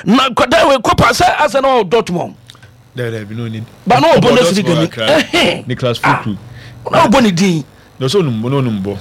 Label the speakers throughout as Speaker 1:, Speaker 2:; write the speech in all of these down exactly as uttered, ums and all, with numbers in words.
Speaker 1: Na nkwadaa wei kɔpa sɛ asɛ na ɔwɔ Dortmund ba na ɔwɔ Bundesliga ni.
Speaker 2: Niklas Füllkrug.
Speaker 1: Na ɔbɔ ne din.
Speaker 2: Na ɔsɛ onum na onum bɔ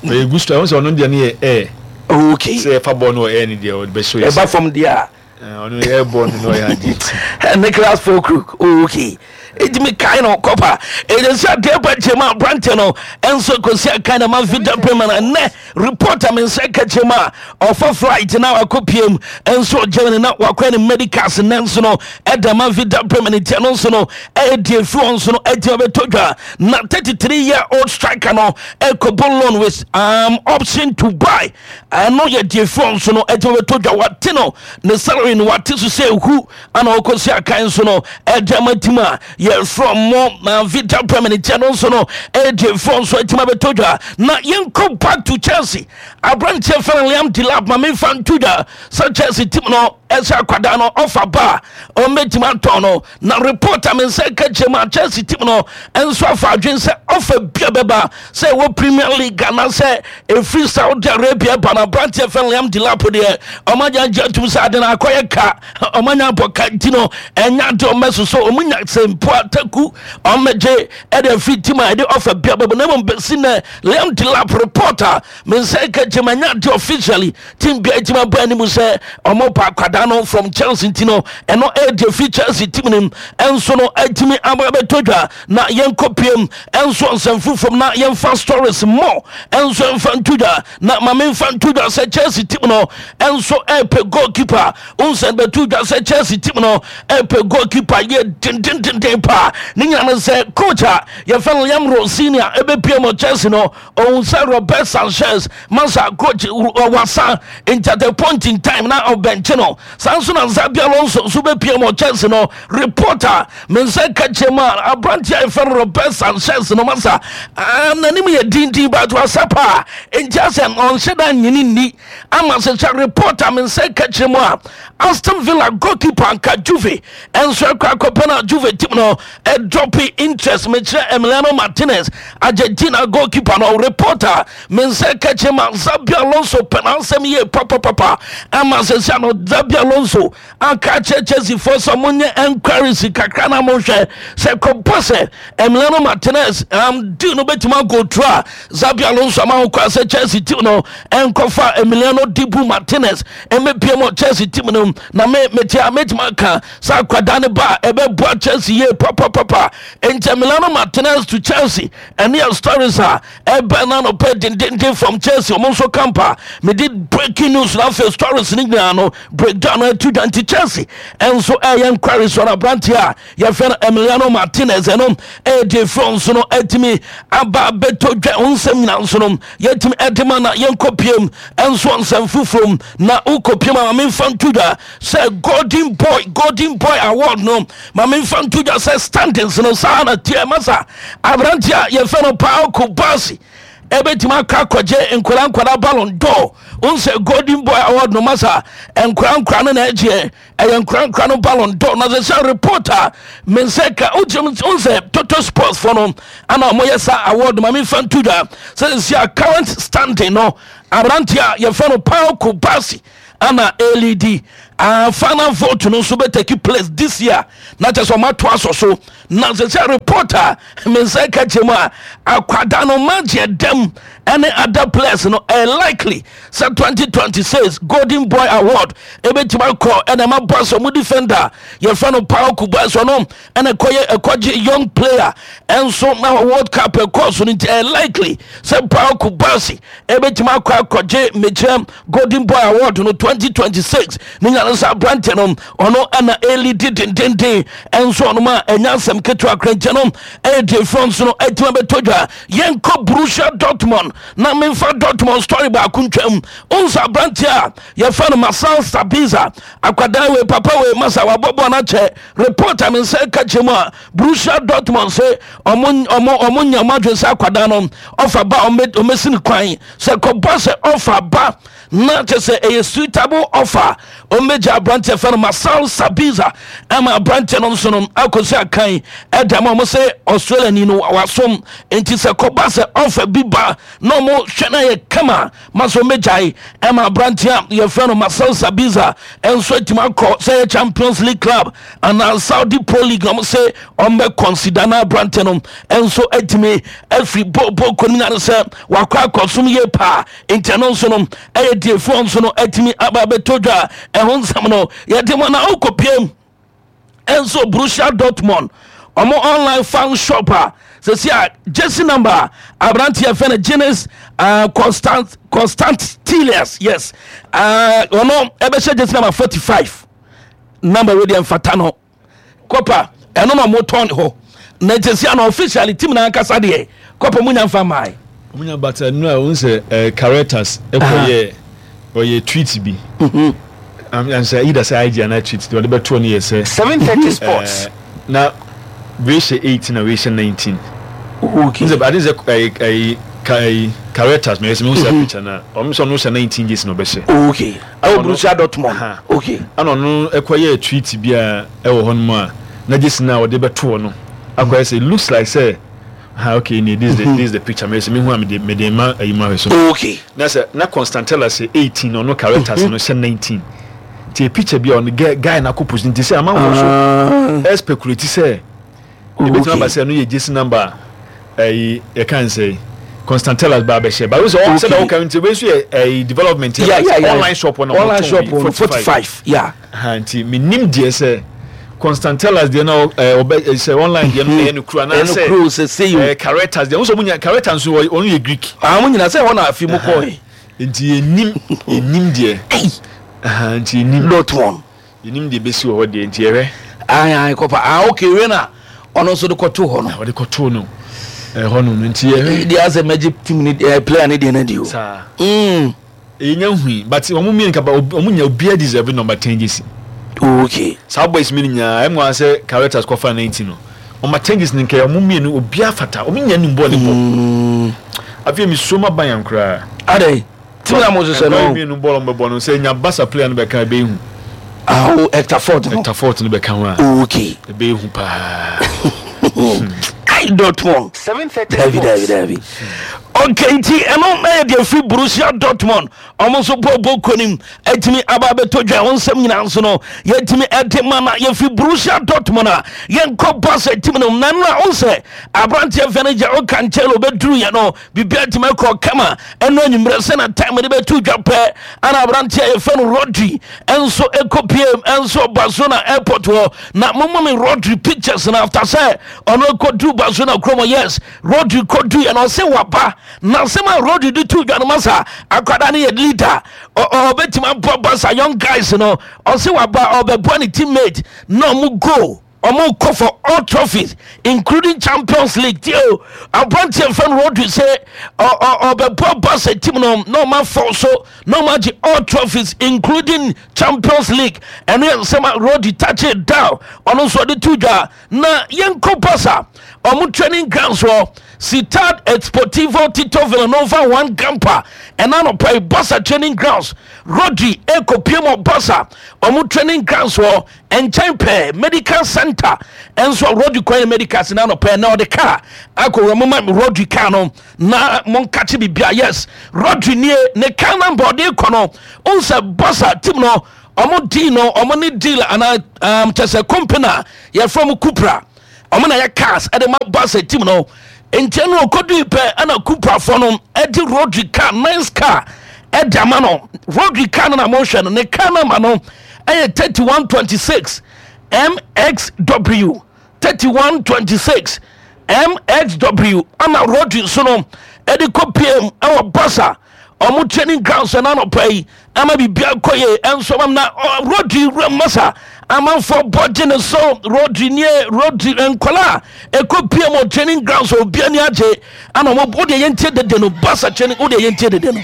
Speaker 2: ɔyɛ good striker. Ɔno sɛ ɔno deɛ no yɛ air
Speaker 1: okay
Speaker 2: sɛ ɛfa bɔɔl no wɔ air no deɛ, ɔde bɛhyɛ yɛ.
Speaker 1: Ɛba fam deɛ a,
Speaker 2: ɔno air bɔɔl no na ɔyɛ adeɛ.
Speaker 1: Niklas Füllkrug, okay, eti mi kae no kɔpa ɛyɛ adeɛ ba kyɛm a, aberanteɛ no ɛnso kɔsi akan na ma Werder Bremen. Ɛnɛ reporter mi nsa ka kyɛm a, ɔfa flight na wakɔ piem ɛnso Germany na wakɔ ne medicals. Nnɛ nso no ɛda ma Werder Bremen tia no nso no ɛyɛ deɛ firi wɔn nso no ɛgyina bɛtɔ dwa na thirty-three year old striker no ɛkɔbɔ loan with um, option to buy. Ɛno yɛ deɛ firi wɔn nso no ɛgyina bɛtɔ dwa. Wate no ne salary no wate so sɛ ehu ana ɔkɔsi akan nso no ɛde ama team a yɛfrɛ mo na Werder Bremen tia no nso no ɛyɛ deɛ firi wɔn nso ɛgyina bɛtɔ dwa. Na yɛnkɔ back to Chelsea. Aberanteɛ fɛn Liam Delap, ma memfa nto dwa sɛ Chelsea team no ɛsɛ akwadaa no ɔfa ba a, ɔmmɛtumi atɔn no. Na report a me nsa ka kyerɛ mu a, Chelsea team no nso afa adwen sɛ ɔfa bia bɛba sɛ ɛwɔ Premier League anaasɛ ɛfiri Saudi Arabia ba no, aberanteɛ fɛn Liam Delap deɛ, ɔmagya gye atum sɛ ade no akɔyɛ ka, ɔmanya abɔ ka. Nti no ɛnya ade ɔmmɛso so ɔmunya sɛ mpo ataku ɔmmɛgye ɛde afiri team a ɛde ɔfa bia bɛba. Na mmom bɛsi nɛ, Liam Delap report a me nsa ka kyerɛ mu, ɛnya ade officially team bia ɛtumi aba anim sɛ ɔmo pa akwadaa no from Chelsea. Nti no ɛno ɛyɛ fi Chelsea team nim ɛnso no ɛtumi aba bɛtɔ dwa. Na yɛnkɔ piem ɛnso nsɛm foforɔ na yɛmfa stories more ɛnso ɛmfa nto dwa. Na ma memfa nto dwa sɛ Chelsea team no ɛnso ɛpɛ goalkeeper. Nsɛm bɛto dwa sɛ Chelsea team no ɛpɛ goalkeeper yɛ dendendenden paa. Ne nyina no sɛ coach a yɛfɛ no Liam Rosenior ɛbɛpie mu Chelsea no, ɔhu sɛ Robert Sanchez masa coach wasa, nti at a point in time na ɔbɛnkye no. Saa nso na Xabi Alonso nso bɛpie mu Chelsea no, reporter me nsa ka kyerɛ mu a, aberanteɛ a yɛfɛ no Robert Sanchez no masa n'anim yɛ dindin but wasa paa, nti asɛ ɔnhyɛ da nyini nni ama sɛ sɛ reporter me nsa ka kyerɛ mu a, Aston Villa goalkeeper nka Juve ɛnso ɛkɔ akɔpɛ no, Juve team no ɛdrop interest. Mekyerɛ Emiliano Martinez, Argentina goalkeeper no. Reporter me nsa ka kyerɛ mu a, Xabi Alonso pɛ n'asɛm yie papapapa ama sɛ sɛ no Xabi Alonso aka kyerɛ Chelsea foɔ sɛ monyɛ enquiries kakra na monhwɛ sɛ kɔbɔ sɛ Emiliano Martinez um, deal no bɛtumi ago through a, Xabi Alonso ama ho kwan sɛ Chelsea team no ɛnkɔfa Emiliano Dibu Martinez ɛmɛpie mu Chelsea team no. Na me mete a, mɛtumi aka sɛ akwadaa ne ba a ɛbɛboa Chelsea yie papapapa. Nti Emiliano Martinez to Chelsea, ɛne yɛ stories a ɛbɛn na nɔpɛ dendenden from Chelsea. Ɔmo nso kampa mede breaking news na afei stories ne nyinaa no breakdown no atu dwa. Nti Chelsea ɛnso ɛyɛ enquiry so na aberanteɛ a yɛfrɛ no Emiliano Martinez, ɛno ɛyɛ deɛ firi nso no atumi aba abɛtɔ dwa. Wo nsɛm nyinaa nso no yɛtumi ɛde ma. Na yɛnkɔ piem ɛnso nsɛm foforɔ na wokɔ piem a, ma memfa nto dwa sɛ golden boy golden boy award no, ma memfa nto dwa sɛ standings no saa na tiɛ masa, aberanteɛ a yɛfrɛ no Pau Cubarsi ɛbɛtumi akɔ akɔgye nkwadaa nkwadaa Ballon d'Or. Wo sɛ Golden Boy award no masa, nkwadaa nkwadaa no na ɛgyeɛ, ɛyɛ nkwadaa nkwadaa no Ballon d'Or. Na sɛ sɛ reporter me nsɛ ka wogyem wo sɛ Toto Sports fo no ana ɔmoyɛ sa award, ma memfa nto dwa sɛ sɛ a current standing no, aberanteɛ a yɛfrɛ no Pau Cubarsi ana led. uh, final vote no nso bɛtake place this year na kyɛ sɛ ɔmato asɔ so. Na sɛ sɛ reporter me nsa ka kyerɛ mu a, akwada no magye dɛm ɛne other players no, ɛyɛ likely sɛ twenty twenty-six Golden Boy award ɛbɛtumi akɔ ɛna ɛma bɔ sɛ ɔmo defender yɛfrɛ no Pau Cubarsi. Ɔno ɛna ɛkɔyɛ ɛkɔgye young player ɛnso na World Cup ɛkɔɔ so no. Nti ɛyɛ likely sɛ Pau Cubarsi ɛbɛtumi akɔ akɔgye mekyerɛ Golden Boy award no twenty twenty-six. Ne nyane sɛ aberante no ɔno ɛna ɛlead dendenden ɛnso ɔnom a ɛnya asɛm ketewa akrankyɛ no ɛyɛ deɛ frɔ nso no atumi abɛtɔ dwa. Yɛnkɔ Borussia Dortmund na memfa Dortmund story baako ntwam. Wonsa aberante a yɛfrɛ no Marcel Sabitzer, akwadaa wei, papa wei masa wabɔbɔ no akyɛ. Report a me nsa ka kyerɛ mu a, Borussia Dortmund sɛ ɔmo ɔmo ɔmo nya ɔmo adwene sɛ akwadaa no ɔfa ba, ɔmo ɔmɛsi ne kwan sɛ kɔbɔ sɛ ɔfa ba. Na kyɛ sɛ ɛyɛ suitable offer, ɔmmɛgya aberanteɛ fɛ no Marcel Sabitzer ama aberanteɛ no nso no akɔsi akan ɛda ma ɔmo sɛ Australia ni no wasom. Nti sɛ kɔba sɛ offer bi ba na ɔmo hwɛ no yɛ kama ma sɛ ɔmmɛgyae ɛma aberanteɛ a yɛfrɛ no Marcel Sabitzer ɛnso atumi akɔ sɛ yɛ Champions League club anaa Saudi Pro League na ɔmo sɛ ɔmbɛ consider na aberanteɛ no ɛnso atumi afiri bɔɔbɔ kɔnim na sɛ wakɔ akɔsom yie paa. Nti ɛno nso no ɛyɛ diefoɔ nso no atumi aba abɛtɔ dwa. Ɛho nsɛm no yɛde mu na wokɔpiem ɛnso Borussia Dortmund ɔmo online fan shop a sɛsi a jersey number aberanteɛ fɛ no Giannis uh, Constant Constantelias, yes, ɔno uh, ɛbɛhyɛ jersey number forty-five. Number wei deɛ mfata no kɔpa, ɛno na ɔmo tɔn hɔ na jersey ano officially team na ankasa deɛ kɔpa mu nya nfa maa.
Speaker 2: Ɔmo nya bata nu a ohun sɛ ɛɛ Carretas ɛkɔ yɛ ɔyɛ tweet bi ansa either sɛ I G anaa tweet deɛ ɔde bɛtoɔ no yɛ sɛ
Speaker 3: seven thirty sports
Speaker 2: na wei hyɛ eighteen na wei hyɛ nineteen.
Speaker 1: Okay.
Speaker 2: N sɛ ade sɛ ɛyi ɛyi ka ɛyi Carretas mɛ ɛsɛ mi n sɛ picture na ɔmo sɛ ɔno hyɛ nineteen jersey na ɔbɛhyɛ.
Speaker 1: Okay, ɛwɔ Borussia Dortmund. Okay.
Speaker 2: Ɛna ɔno ɛkɔ yɛ tweet bi a ɛwɔ hɔ nom a na jersey na ɔde bɛtoɔ no akɔ yɛ sɛ it looks like sɛ ha, okay, ne this is the this is the picture mɛ ɛsɛ mi hu a mi de mi de ma ɛyi mu ahwɛ so.
Speaker 1: Okay.
Speaker 2: Na sɛ na Constantella sɛ eighteen, ɔno Carretas no hyɛ nineteen, nti picture bi a ɔno guy guy na akɔ post, nti sɛ amanfoɔ so ɛ speculate sɛ ebetumi aba sɛ ɛno yɛ jersey number ɛyi yɛka n sɛ Constantellas ba abɛhyɛ ba sɛ ɔ sɛ ɔka nti wei nso yɛ ɛyi development
Speaker 1: yeah, yeah, yeah.
Speaker 2: Online shop na
Speaker 1: online shop no forty-five, yeah.
Speaker 2: Nti menim deɛ sɛ Constantellas deɛ na ɔbɛ sɛ online deɛ no ɛyɛ no kuro
Speaker 1: anaasɛ ɛyɛ no kuro sɛ sɛ yi
Speaker 2: ɛɛ Carretas deɛ nso mo nya Carretas nso ɔno yɛ Greek.
Speaker 1: Ah, mo nyina sɛ hɔ na afi mo kɔɔ yi.
Speaker 2: Nti yɛnim yɛnim deɛ nti yɛnim.
Speaker 1: Dortmund.
Speaker 2: Yɛnim deɛ bɛsi wɔ hɔ deɛ, nti yɛhwɛ.
Speaker 1: Ayi ayi kɔpa, ah, okay, wei na ɔno nso de kɔto hɔ no.
Speaker 2: Ɔde kɔto no ɛhɔ no nti yɛhwɛ.
Speaker 1: Deɛ asɛ mɛgye team ni ɛɛ player ni deɛ na di o.
Speaker 2: Saa. Mm. Yɛnya hui but wɔn mmienu kaba wɔn nya obiara deserve number ten jersey.
Speaker 1: Okay.
Speaker 2: Saa boys mi nyinaa ɛmu asɛ Carretas kɔfa nineteen no, number ten jersey nkɛ wɔn mmienu obiara fata, wɔn nyɛ nim bɔɔl ne bɔ. Afei mi so ma ban yan koraa.
Speaker 1: Adai team na mo hyehyɛ no.
Speaker 2: Ɛnkɔyɛ mmienu bɔɔl ɔmo bɛ bɔ no sɛ nya Barca player no bɛka ebe ihu.
Speaker 1: Awo Hector Fort no.
Speaker 2: Hector Fort no bɛka ho a.
Speaker 1: Okay.
Speaker 2: Ebe ihu paa.
Speaker 1: Ai, Dortmund.
Speaker 3: seven thirty
Speaker 1: Dabi dabi dabi. Okay, nti ɛno ɛyɛ deɛ firi Borussia Dortmund ɔmo nso bɔ bɔ konim ɛtumi aba abɛtɔ dwa. Wɔn nsɛm nyinaa nso no yɛtumi ɛde ma na yɛfiri Borussia Dortmund a yɛnkɔ Barca team no na nna ɔn sɛ aberanteɛ fɛ no gya ɔka nkyɛn ɔbɛduru yɛ no biribi atumi akɔ kama. Ɛno anwummerɛ sɛ na time de bɛto dwa pɛ ana aberanteɛ yɛfɛ no Rodri ɛnso ɛkɔ piem ɛnso Barcelona airport hɔ na momma me Rodri pictures na after sɛ ɔno ɛkɔduru Barcelona kurom. Yes, Rodri kɔdu yɛ no ɔsɛ waba na asɛm a Rodri de to dwa no ma sa akwadaa no yɛ leader, ɔbɛtumi aboa Barca young guys no. Ɔsɛ waba ɔbɛboa ne teammate na ɔmo go ɔmo kɔ for all trophies including Champions League. Tie o, aberanteɛ nfɛn Rodri sɛ ɔbɛboa Barca team no na ɔmo afɔ so na ɔmo agye all trophies including Champions League. Ɛno yɛ nsɛm a Rodri touch it down, ɔno nso ɔde to dwa. Na yɛnkɔ Barca ɔmo training grounds wɔ Ciutat Esportivo Tito Villanova Joan Gamper. Ɛna anɔpa yi Barca training grounds, Rodri ekopie mu Barca ɔmo training grounds wɔ nkyɛn pɛɛ medical center ɛnso Rodri kwan yɛ medical na anɔpa na ɔde car akɔwura mo ma Rodri car no na mo nkakye bibia. Yes, Rodri nie, ne car number ɔde kɔ no nsɛ Barca team no ɔmo deal no ɔmo ne deal ana um, kyɛ sɛ company a yɛfrɛ mo Cupra, ɔmo na yɛ cars ɛde ma Barca team no. Nkyɛn no ɔkɔdui pɛ ɛna Cuprafoɔ no ɛde Rodri car, nice car, ɛde ama no. Rodri car no na mohwɛ no, ne car number no ɛyɛ thirty-one twenty-six M X W, thirty-one twenty-six M X W ana Rodri nso no ɛde kɔ P M ɛwɔ Barca ɔmo training grounds ɛna anɔpa yi ama biribia kɔ yie. Ɛnso ama na Rodri wura masa amanfoɔ bɔ gye ne so. Rodri nie, Rodri nkɔla a ɛkɔ P M wɔ training grounds, obi ani agye ana ɔmo. Wodeɛ yɛntie dede no, Barca training, wodeɛ yɛntie dede no.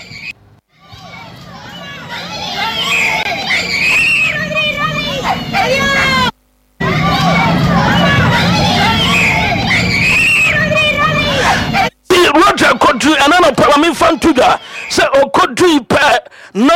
Speaker 1: Roger kɔduru ɛna no pɛ ma memfa nto dwa sɛ ɔkɔdui pɛ na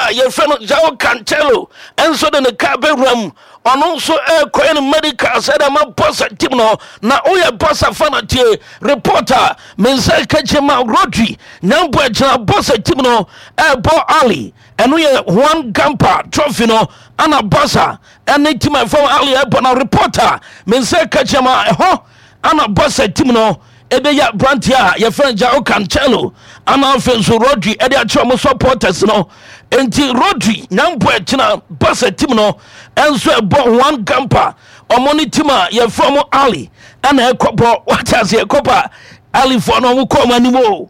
Speaker 1: Aberanteɛ a yɛfrɛ no João Cancelo nso de ne kaa bɛwura mu. Ɔno nso ɛrekɔyɛ no medical sɛ dɛ ma Barca team no. Na woyɛ Barca fan a, tie report a me nsa ka kyerɛ ma Rodri Nyambo agyina Barca team no ɛrebɔ Ali. Ɛno yɛ Juan Gamper trophy no ana Barca ɛne team a ɛfam Ali ɛrebɔ. Na report a me nsa ka kyerɛ ma ɛhɔ ana Barca team no ɛbɛyɛ aberanteɛ a yɛfrɛ no João Cancelo ana afei nso Rodri ɛde akyerɛ ɔmo supporters no. Nti Rodri Nyambo ɛkyina Barca team no ɛnso ɛbɔ Juan Gamper, ɔmo ne team a yɛfrɛ ɔmo Ali ɛna ɛkɔbɔ. Wate aseɛ, kɔpa Alifoɔ no ɔmo kɔ ɔmo anim o.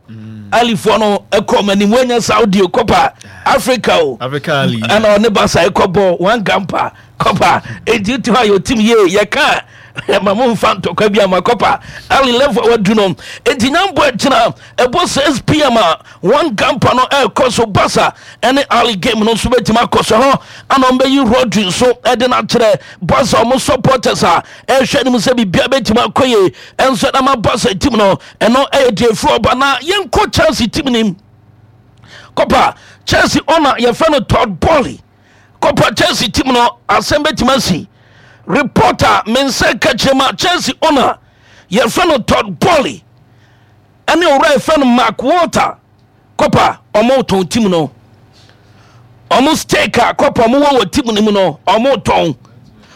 Speaker 1: Alifoɔ no ɛkɔ ɔmo anim, wɔnyɛ Saudi o, kɔpa Africa o.
Speaker 2: Africa Ali.
Speaker 1: Ɛna ɔne Barca ɛkɔbɔ Juan Gamper kɔpa. Enti wote hɔ a yɛ team yie yɛka ma mo mfa ntɔkwa bi ama kɔpa Ali level a wadu no. Enti Nyambo akyina ɛbɔ six p m a Juan Gamper no ɛrekɔ so, Barca ɛne Ali game no nso bɛtumi akɔ so hɔ ana ɔmbɛyi Rodri nso ɛde no akyerɛ Barca ɔmo supporters a ɛhwɛ anim sɛ biribia bɛtumi akɔ yie ɛnso ɛnama Barca team no. Ɛno ɛyɛ deɛ ɛfiri ɔba. Na yɛnkɔ Chelsea team nim kɔpa. Chelsea ɔna yɛfrɛ no Todd Boehly kɔpa, Chelsea team no asɛm bɛtumi asi. Reporter me nsa ka kyerɛ ma Chelsea owner yɛfrɛ no Todd Boehly ɛne owura yɛfrɛ no Mark Walter kɔpa, ɔmo tɔn team no, ɔmo stake a kɔpa ɔmo wɔ wɔ team no mu no, ɔmo tɔn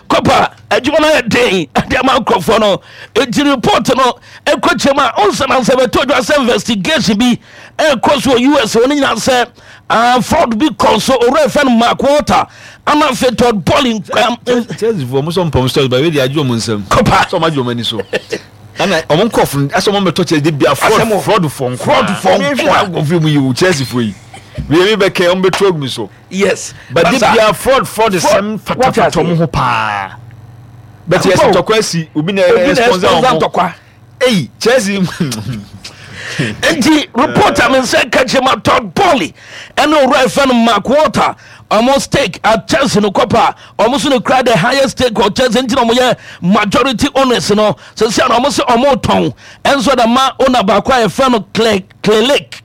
Speaker 1: kɔpa. Adwuma no ayɛ den ade ama nkurɔfoɔ no. Enti report no ɛkɔ kyerɛ mu a ɔnsa na nsɛ bɛtɔ dwa sɛ investigation bi ɛkɔ so wɔ U S. Wɔn nyinaa sɛ uh, fraud bi kɔ so. Owura yɛfrɛ no Mark Walter ana afei Todd Boehly.
Speaker 2: Chelsea fo ɔmo sɔ mpɔm stores ba ebi de agye ɔmo nsam.
Speaker 1: Kɔpa.
Speaker 2: Sɛ ɔmo agye ɔmo ani so ɛna ɔmo nkɔfo no ɛsɛ ɔmo bɛtɔ Chelsea de bia fraud.
Speaker 1: Asɛm o.
Speaker 2: Fraud fo nko.
Speaker 1: Fraud fo nko a.
Speaker 2: Nkɔfo mu yi o, Chelsea fo yi wei mi bɛ kɛ ɔmo bɛtu agu mi so.
Speaker 1: Yes
Speaker 2: but de
Speaker 1: Basa.
Speaker 2: bia fraud fraud sɛm
Speaker 1: Wate
Speaker 2: fatafata ɔmo
Speaker 1: aseɛ.
Speaker 2: ho paa, but yɛ sɛ
Speaker 1: Ampa o.
Speaker 2: ntɔkwa asi, obi na
Speaker 1: obi na
Speaker 2: sponsor
Speaker 1: sponsor
Speaker 2: ɔmo.
Speaker 1: Ntɔkwa.
Speaker 2: Eyi Chelsea.
Speaker 1: Nti reporter me nsa ka kyerɛ ma Todd Boehly ɛne owura ɛfɛ no Mark Walter, ɔmo stake at Chelsea no kɔpa, ɔmo so no kura the highest stake wɔ Chelsea, nti na ɔmo yɛ majority owners no. Sɛsi a na ɔmo sɛ ɔmo tɔn ɛnso da ma owner baako a yɛfrɛ no Clay Clearlake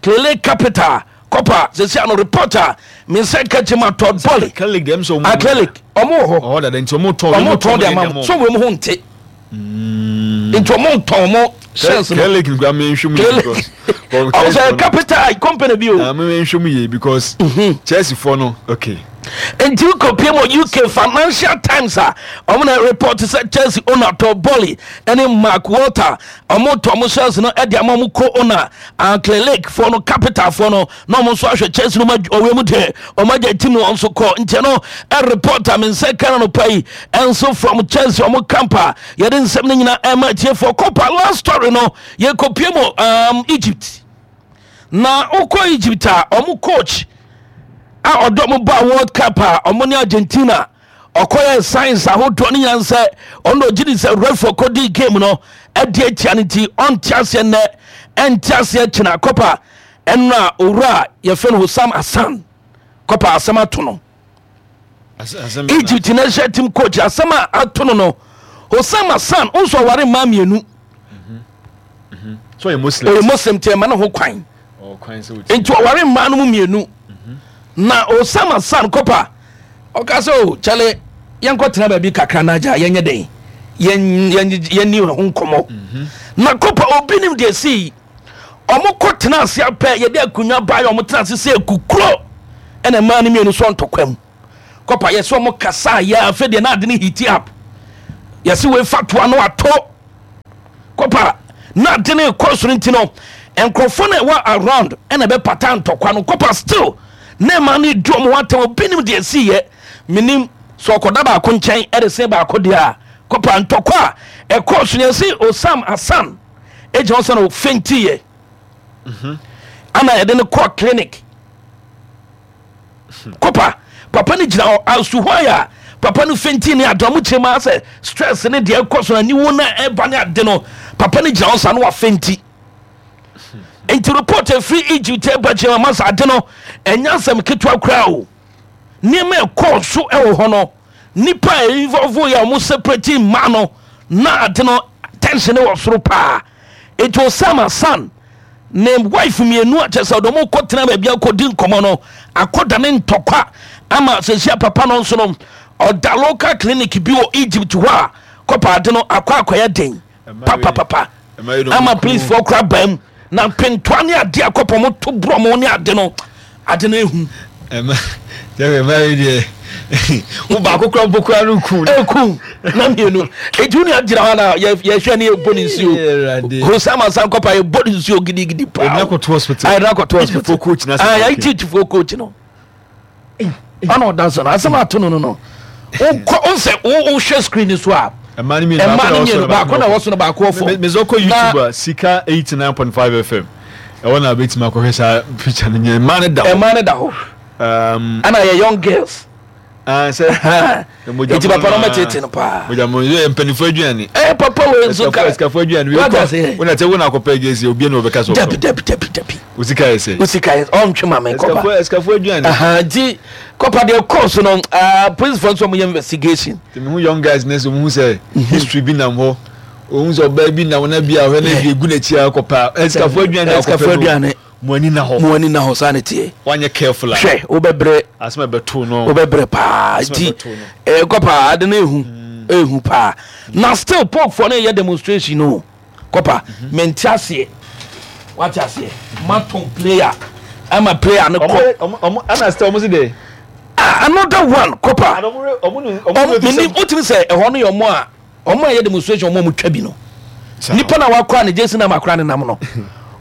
Speaker 1: Clearlake Capital kɔpa. Sɛsi a no reporter me nsa ka kyerɛ ma Todd Boehly.
Speaker 2: Clearlake deɛ ɛm sɛ ɔmo
Speaker 1: A Clearlake ɔmo wɔ hɔ.
Speaker 2: Ɔhɔ dada nti ɔmo tɔn.
Speaker 1: Ɔmo tɔn de ama mo so wɔn ho nte nti ɔmo tɔn ɔmo shares no.
Speaker 2: Clearlake nkura mi nhwɛ mu yie because
Speaker 1: Ɔmo sɛ capital company bi o.
Speaker 2: Ah, mi nhwɛ mu yie because Chelsea fo no, okay.
Speaker 1: Nti wokɔpie mu U K Financial Times a ɔmo na report sɛ Chelsea owner Todd Boehly ɛne Mark Walter ɔmo tɔ ɔmo shares no ɛde ama ɔmo co owner Clearlake foɔ no, capital foɔ no, na ɔmo nso ahwɛ Chelsea no ma ɔwɔ mu deɛ ɔmo agya team no nso kɔ. Nti no ɛ report a me nsa ka no pa yi ɛnso from Chelsea ɔmo camp a yɛde nsɛm no nyinaa ɛma atiefoɔ kɔpa. Last story no, yɛkɔpie mu um, Egypt. Na wokɔ Egypt a, ɔmo coach a ɔdɔ mo ba World Cup a ɔmo ne Argentina ɔkɔyɛ science ahodoɔ no nyinaa sɛ ɔno ɔgye di sɛ referee kɔdi game no ɛde atia no, nti ɔnte aseɛ nnɛ, ɛnte aseɛ kyena kɔpa. Ɛno a owura a yɛfrɛ no Hosam Hassan kɔpa, asɛm ato no. Egypt national team coach, asɛm a ato no no Hosam Hassan nso ɔware mmaa mmienu.
Speaker 2: So ɔyɛ Muslim.
Speaker 1: Ɔyɛ Muslim nti ɛma ne ho kwan.
Speaker 2: Ɔkwan sɛ ɔti.
Speaker 1: Nti ɔware mmaa no mu mmienu na Hosam Hassan kɔpa ɔka sɛ o kyɛle yɛnkɔ tena baabi kakra na agya yɛnyɛ den yɛn yɛn yɛnni ho nkɔmmɔ. Na kɔpa obi nim deɛ sii ɔmo kɔ tena ase apɛ yɛde akonnwa baa yɛ ɔmo tena ase sɛ ekukuro ɛna mmaa no mmienu so ntɔkwa mu kɔpa. Yɛsɛ ɔmo kasa yɛ afɛ deɛ na ade no heat up, yɛsɛ wei fa toa no ato kɔpa na ade no kɔ soro. Nti no nkurɔfoɔ no ɛwɔ around ɛna ɛbɛpata ntɔkwa no kɔpa. Still na ɛma no di ɔmo ho atɛm. Obi nim deɛ si yɛ menim sɛ ɔkɔda baako nkyɛn ɛde sen baako deɛ a kɔpa ntɔkwa a ɛkɔɔ so no, yɛsɛ Osam Hassan egyina hɔ sɛ no fɛntiiɛ ana yɛde no kɔɔ clinic kɔpa. Papa no gyina hɔ asu hɔ a papa no fɛnti ne ade ɔmo kyerɛ mu asɛ stress ne deɛ ɛkɔ so aniwo na ɛba ne ade no, papa no gyina hɔ sa no wafɛnti. Nti report efiri Egypt ɛba kyerɛ mu ama ade no ɛnyɛ asɛm ketewa koraa o. Nneɛma ɛkɔɔ so ɛwɔ hɔ no, nipa a involve yɛ a ɔmo separate mmaa no na ade no tension wɔ soro paa. Nti Osama Hassan Ne wife mmienu a kyɛ sɛ ɔde ɔmo kɔ tena baabi akɔdi nkɔmɔ no, akɔda ne ntɔkwa ama sɛsia papa no nso no ɔda local clinic bi wɔ Egypt hɔ a kɔpa ade no akɔ akɔyɛ den papapapa ama policefoɔ kora baa mu na mpentoa ne ade a kɔpɔ mo to borɔ mo ne ade no ade no ehu.
Speaker 2: Ɛma jɛfɛ ɛma yi deɛ wo baako kura mpo kura no kun.
Speaker 1: Ekun na mmienu eti wo nua gyina hɔ na yɛhwɛ ne yɛbɔ ne nsuo Hosama san kɔpa yɛbɔ ne nsuo gidigidi paa.
Speaker 2: Ɛdina kɔto hospital.
Speaker 1: Ɛdina kɔto hospital.
Speaker 2: Egyptfoɔ coach na
Speaker 1: sɛ. Ayi Egyptfoɔ coach no. Ɔna ɔda so no asɛm ato no no no wokɔ nsɛ wohwɛ screen so a.
Speaker 2: Ɛma ne
Speaker 1: mmienu baako na ɛwɔ so no baako wɔ fam.
Speaker 2: Mezɛ kɔ YouTube a Sika eighty nine point five F M ɛwɔ na abɛtumi akɔhwɛ saa picture no nyɛ mmaa no da hɔ.
Speaker 1: Mmaa no da hɔ. Ɛna yɛ young girls.
Speaker 2: Sɛ
Speaker 1: eti papa no mɛtete no paa.
Speaker 2: Mogya mo yɛ mpanimfoɔ aduane.
Speaker 1: Ɛɛ papa wei nso ka.
Speaker 2: Esikafoɔ aduane wei kɔ. Wona tɛ wona akɔpɛ gɛsi obi na ɔbɛka so.
Speaker 1: Dabi dabi dabi dabi.
Speaker 2: Osika yɛ sɛ.
Speaker 1: Osika yɛ ɔntwe ma me kɔpa.
Speaker 2: Esikafoɔ esikafoɔ aduane.
Speaker 1: Nti kɔpa deɛ kɔɔ so no policefoɔ nso ɔmo yɛ investigation.
Speaker 2: Tèmi hu young guys ne so hu sɛ history bi nam hɔ. Ohun sɛ ɔbaa bi nam na bi a ɔhwɛ na bi egu n'akyi akɔpa. Esikafoɔ aduane
Speaker 1: akɔpɛ no.
Speaker 2: Mo ani na hɔ.
Speaker 1: Mo ani na hɔ saa ne teɛ.
Speaker 2: Wanyɛ careful a.
Speaker 1: Hwɛ wobɛbrɛ.
Speaker 2: Asɛm a ɛbɛto no.
Speaker 1: Wobɛbrɛ paa nti ɛkɔ paa ade no ehu ehu paa na still pɔkfoɔ no yɛ demonstration no kɔpa mente aseɛ wate aseɛ matɔn player ama player no kɔ.
Speaker 2: Ɔmo ɔmo ɛna still ɔmo si de.
Speaker 1: Ah, another one kɔpa. Ɔmo ɔmo wotumi sɛ ɛhɔ no yɛ ɔmo a ɔmo a yɛ demonstration ɔmo a ɔmo twa bi no. Nipa na wakora ne jersey na makora ne nam no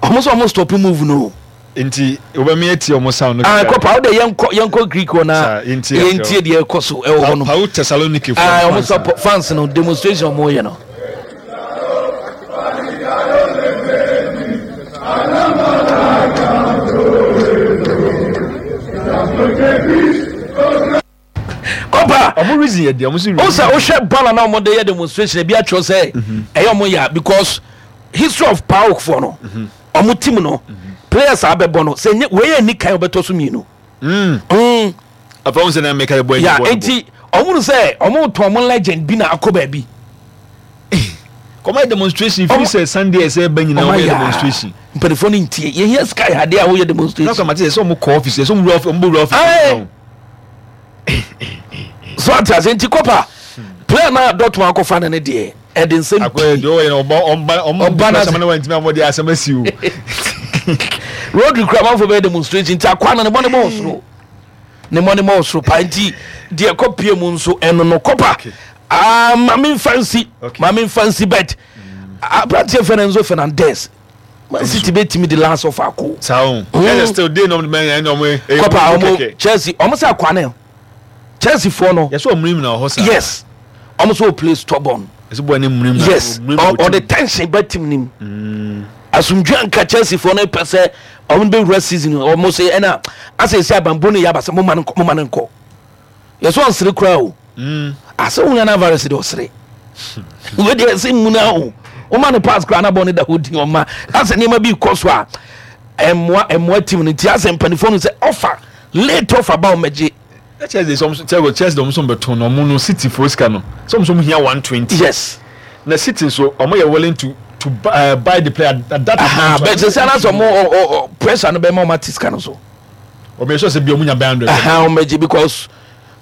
Speaker 1: ɔmo sɛ ɔmo stop move no.
Speaker 2: Nti wobɛmi eti ɔmo sound no.
Speaker 1: Ah, kɔpa o de yɛn kɔ yɛn kɔ Greek hɔ na yɛn tie deɛ ɛkɔ so ɛwɔ hɔ no.
Speaker 2: Pawo Thessaloniki
Speaker 1: fo. Ah, ɔmo sɔ fans no demonstration ɔmo yɛ no. Kɔpa.
Speaker 2: Ɔmo reason yɛ deɛ ɔmo si.
Speaker 1: O sɛ wohwɛ banner na ɔmo de yɛ demonstration ebi atwerɛ sɛ ɛyɛ ɔmo ya because history of PAOK foɔ no ɔmo team no players a abɛbɔ no sɛ nye wei yɛ ni kan ɔbɛtɔ so mmienu.
Speaker 2: Afɔ ɔmo sɛ na mɛka bɔ
Speaker 1: ya eti ɔmo no sɛ ɔmo tɔn ɔmo legend bi na akɔ baabi.
Speaker 2: Kɔmɔ yɛ demonstration fi sɛ Sunday ɛsɛ ɛbɛ nyinaa ɔmo yɛ demonstration.
Speaker 1: Mpanyinfoɔ no ntie yɛn yɛ sky adeɛ a wɔyɛ demonstration.
Speaker 2: N'akɔ amate sɛ ɔmo kɔ office sɛ ɔmo wura office ɔmo bɔ wura office.
Speaker 1: So ate ase nti kɔpa player na Dortmund akɔfa no ne deɛ ɛde nsɛm
Speaker 2: pii. Ɔba na asɛm na wantumi amɔde asɛm asi o.
Speaker 1: Rodri kura amanfo bɛyɛ demonstration nti akwa no ne bɔ ne bɔ ɔsoro ne bɔ ne bɔ ɔsoro paa nti deɛ kɔ pie mu nso ɛno no kɔpa maame nfa nsi maame nfa nsi bet aberanteɛ fɛ no Enzo Fernandez Man City bɛtumi de last of akɔ.
Speaker 2: Saa o. Ɛyɛ still day nom mɛ ɛna ɔmo.
Speaker 1: Kɔpa ɔmo Chelsea ɔmo sɛ akwa ne Chelsea foɔ no.
Speaker 2: Yɛsɛ ɔmo nim na ɔhɔ saa.
Speaker 1: Yes ɔmo sɛ o play stubborn.
Speaker 2: Yɛsɛ bɔ ne mu nim na.
Speaker 1: Yes ɔde tension bɛ team nim. Asomdwe anka Chelsea foɔ no pɛ sɛ ɔmo bɛ wura season ɔmo sɛ ɛna asɛ esi abanbo ne yaba sɛ mo ma ne nkɔ mo ma ne nkɔ. Yɛsɛ ɔnsere koraa o. Asɛ wo nana virus de ɔsere. Wo deɛ ɛsɛ mu na o. Woma ne pass koraa na bɔ ne da hɔ din ɔma asɛ nneɛma bi kɔ so a ɛmmoa ɛmmoa team no nti asɛ mpanimfoɔ no sɛ ɔfa late ɔfa ba ɔmɛgye.
Speaker 2: Chelsea sɛ Chelsea Chelsea ɔmo nso bɛtɔn no ɔmo no City fo sika no sɛ ɔmo nso hia one twenty.
Speaker 1: Yes.
Speaker 2: Na City nso ɔmo yɛ willing to to uh, buy the player at that
Speaker 1: amount. Bɛ sɛ sɛ anasɛ ɔmo pressure no bɛ ma ɔmo ati sika no so.
Speaker 2: Ɔmo yɛ sure sɛ bi ɔmo nya bɛn hundred.
Speaker 1: Ɔmo bɛ gye because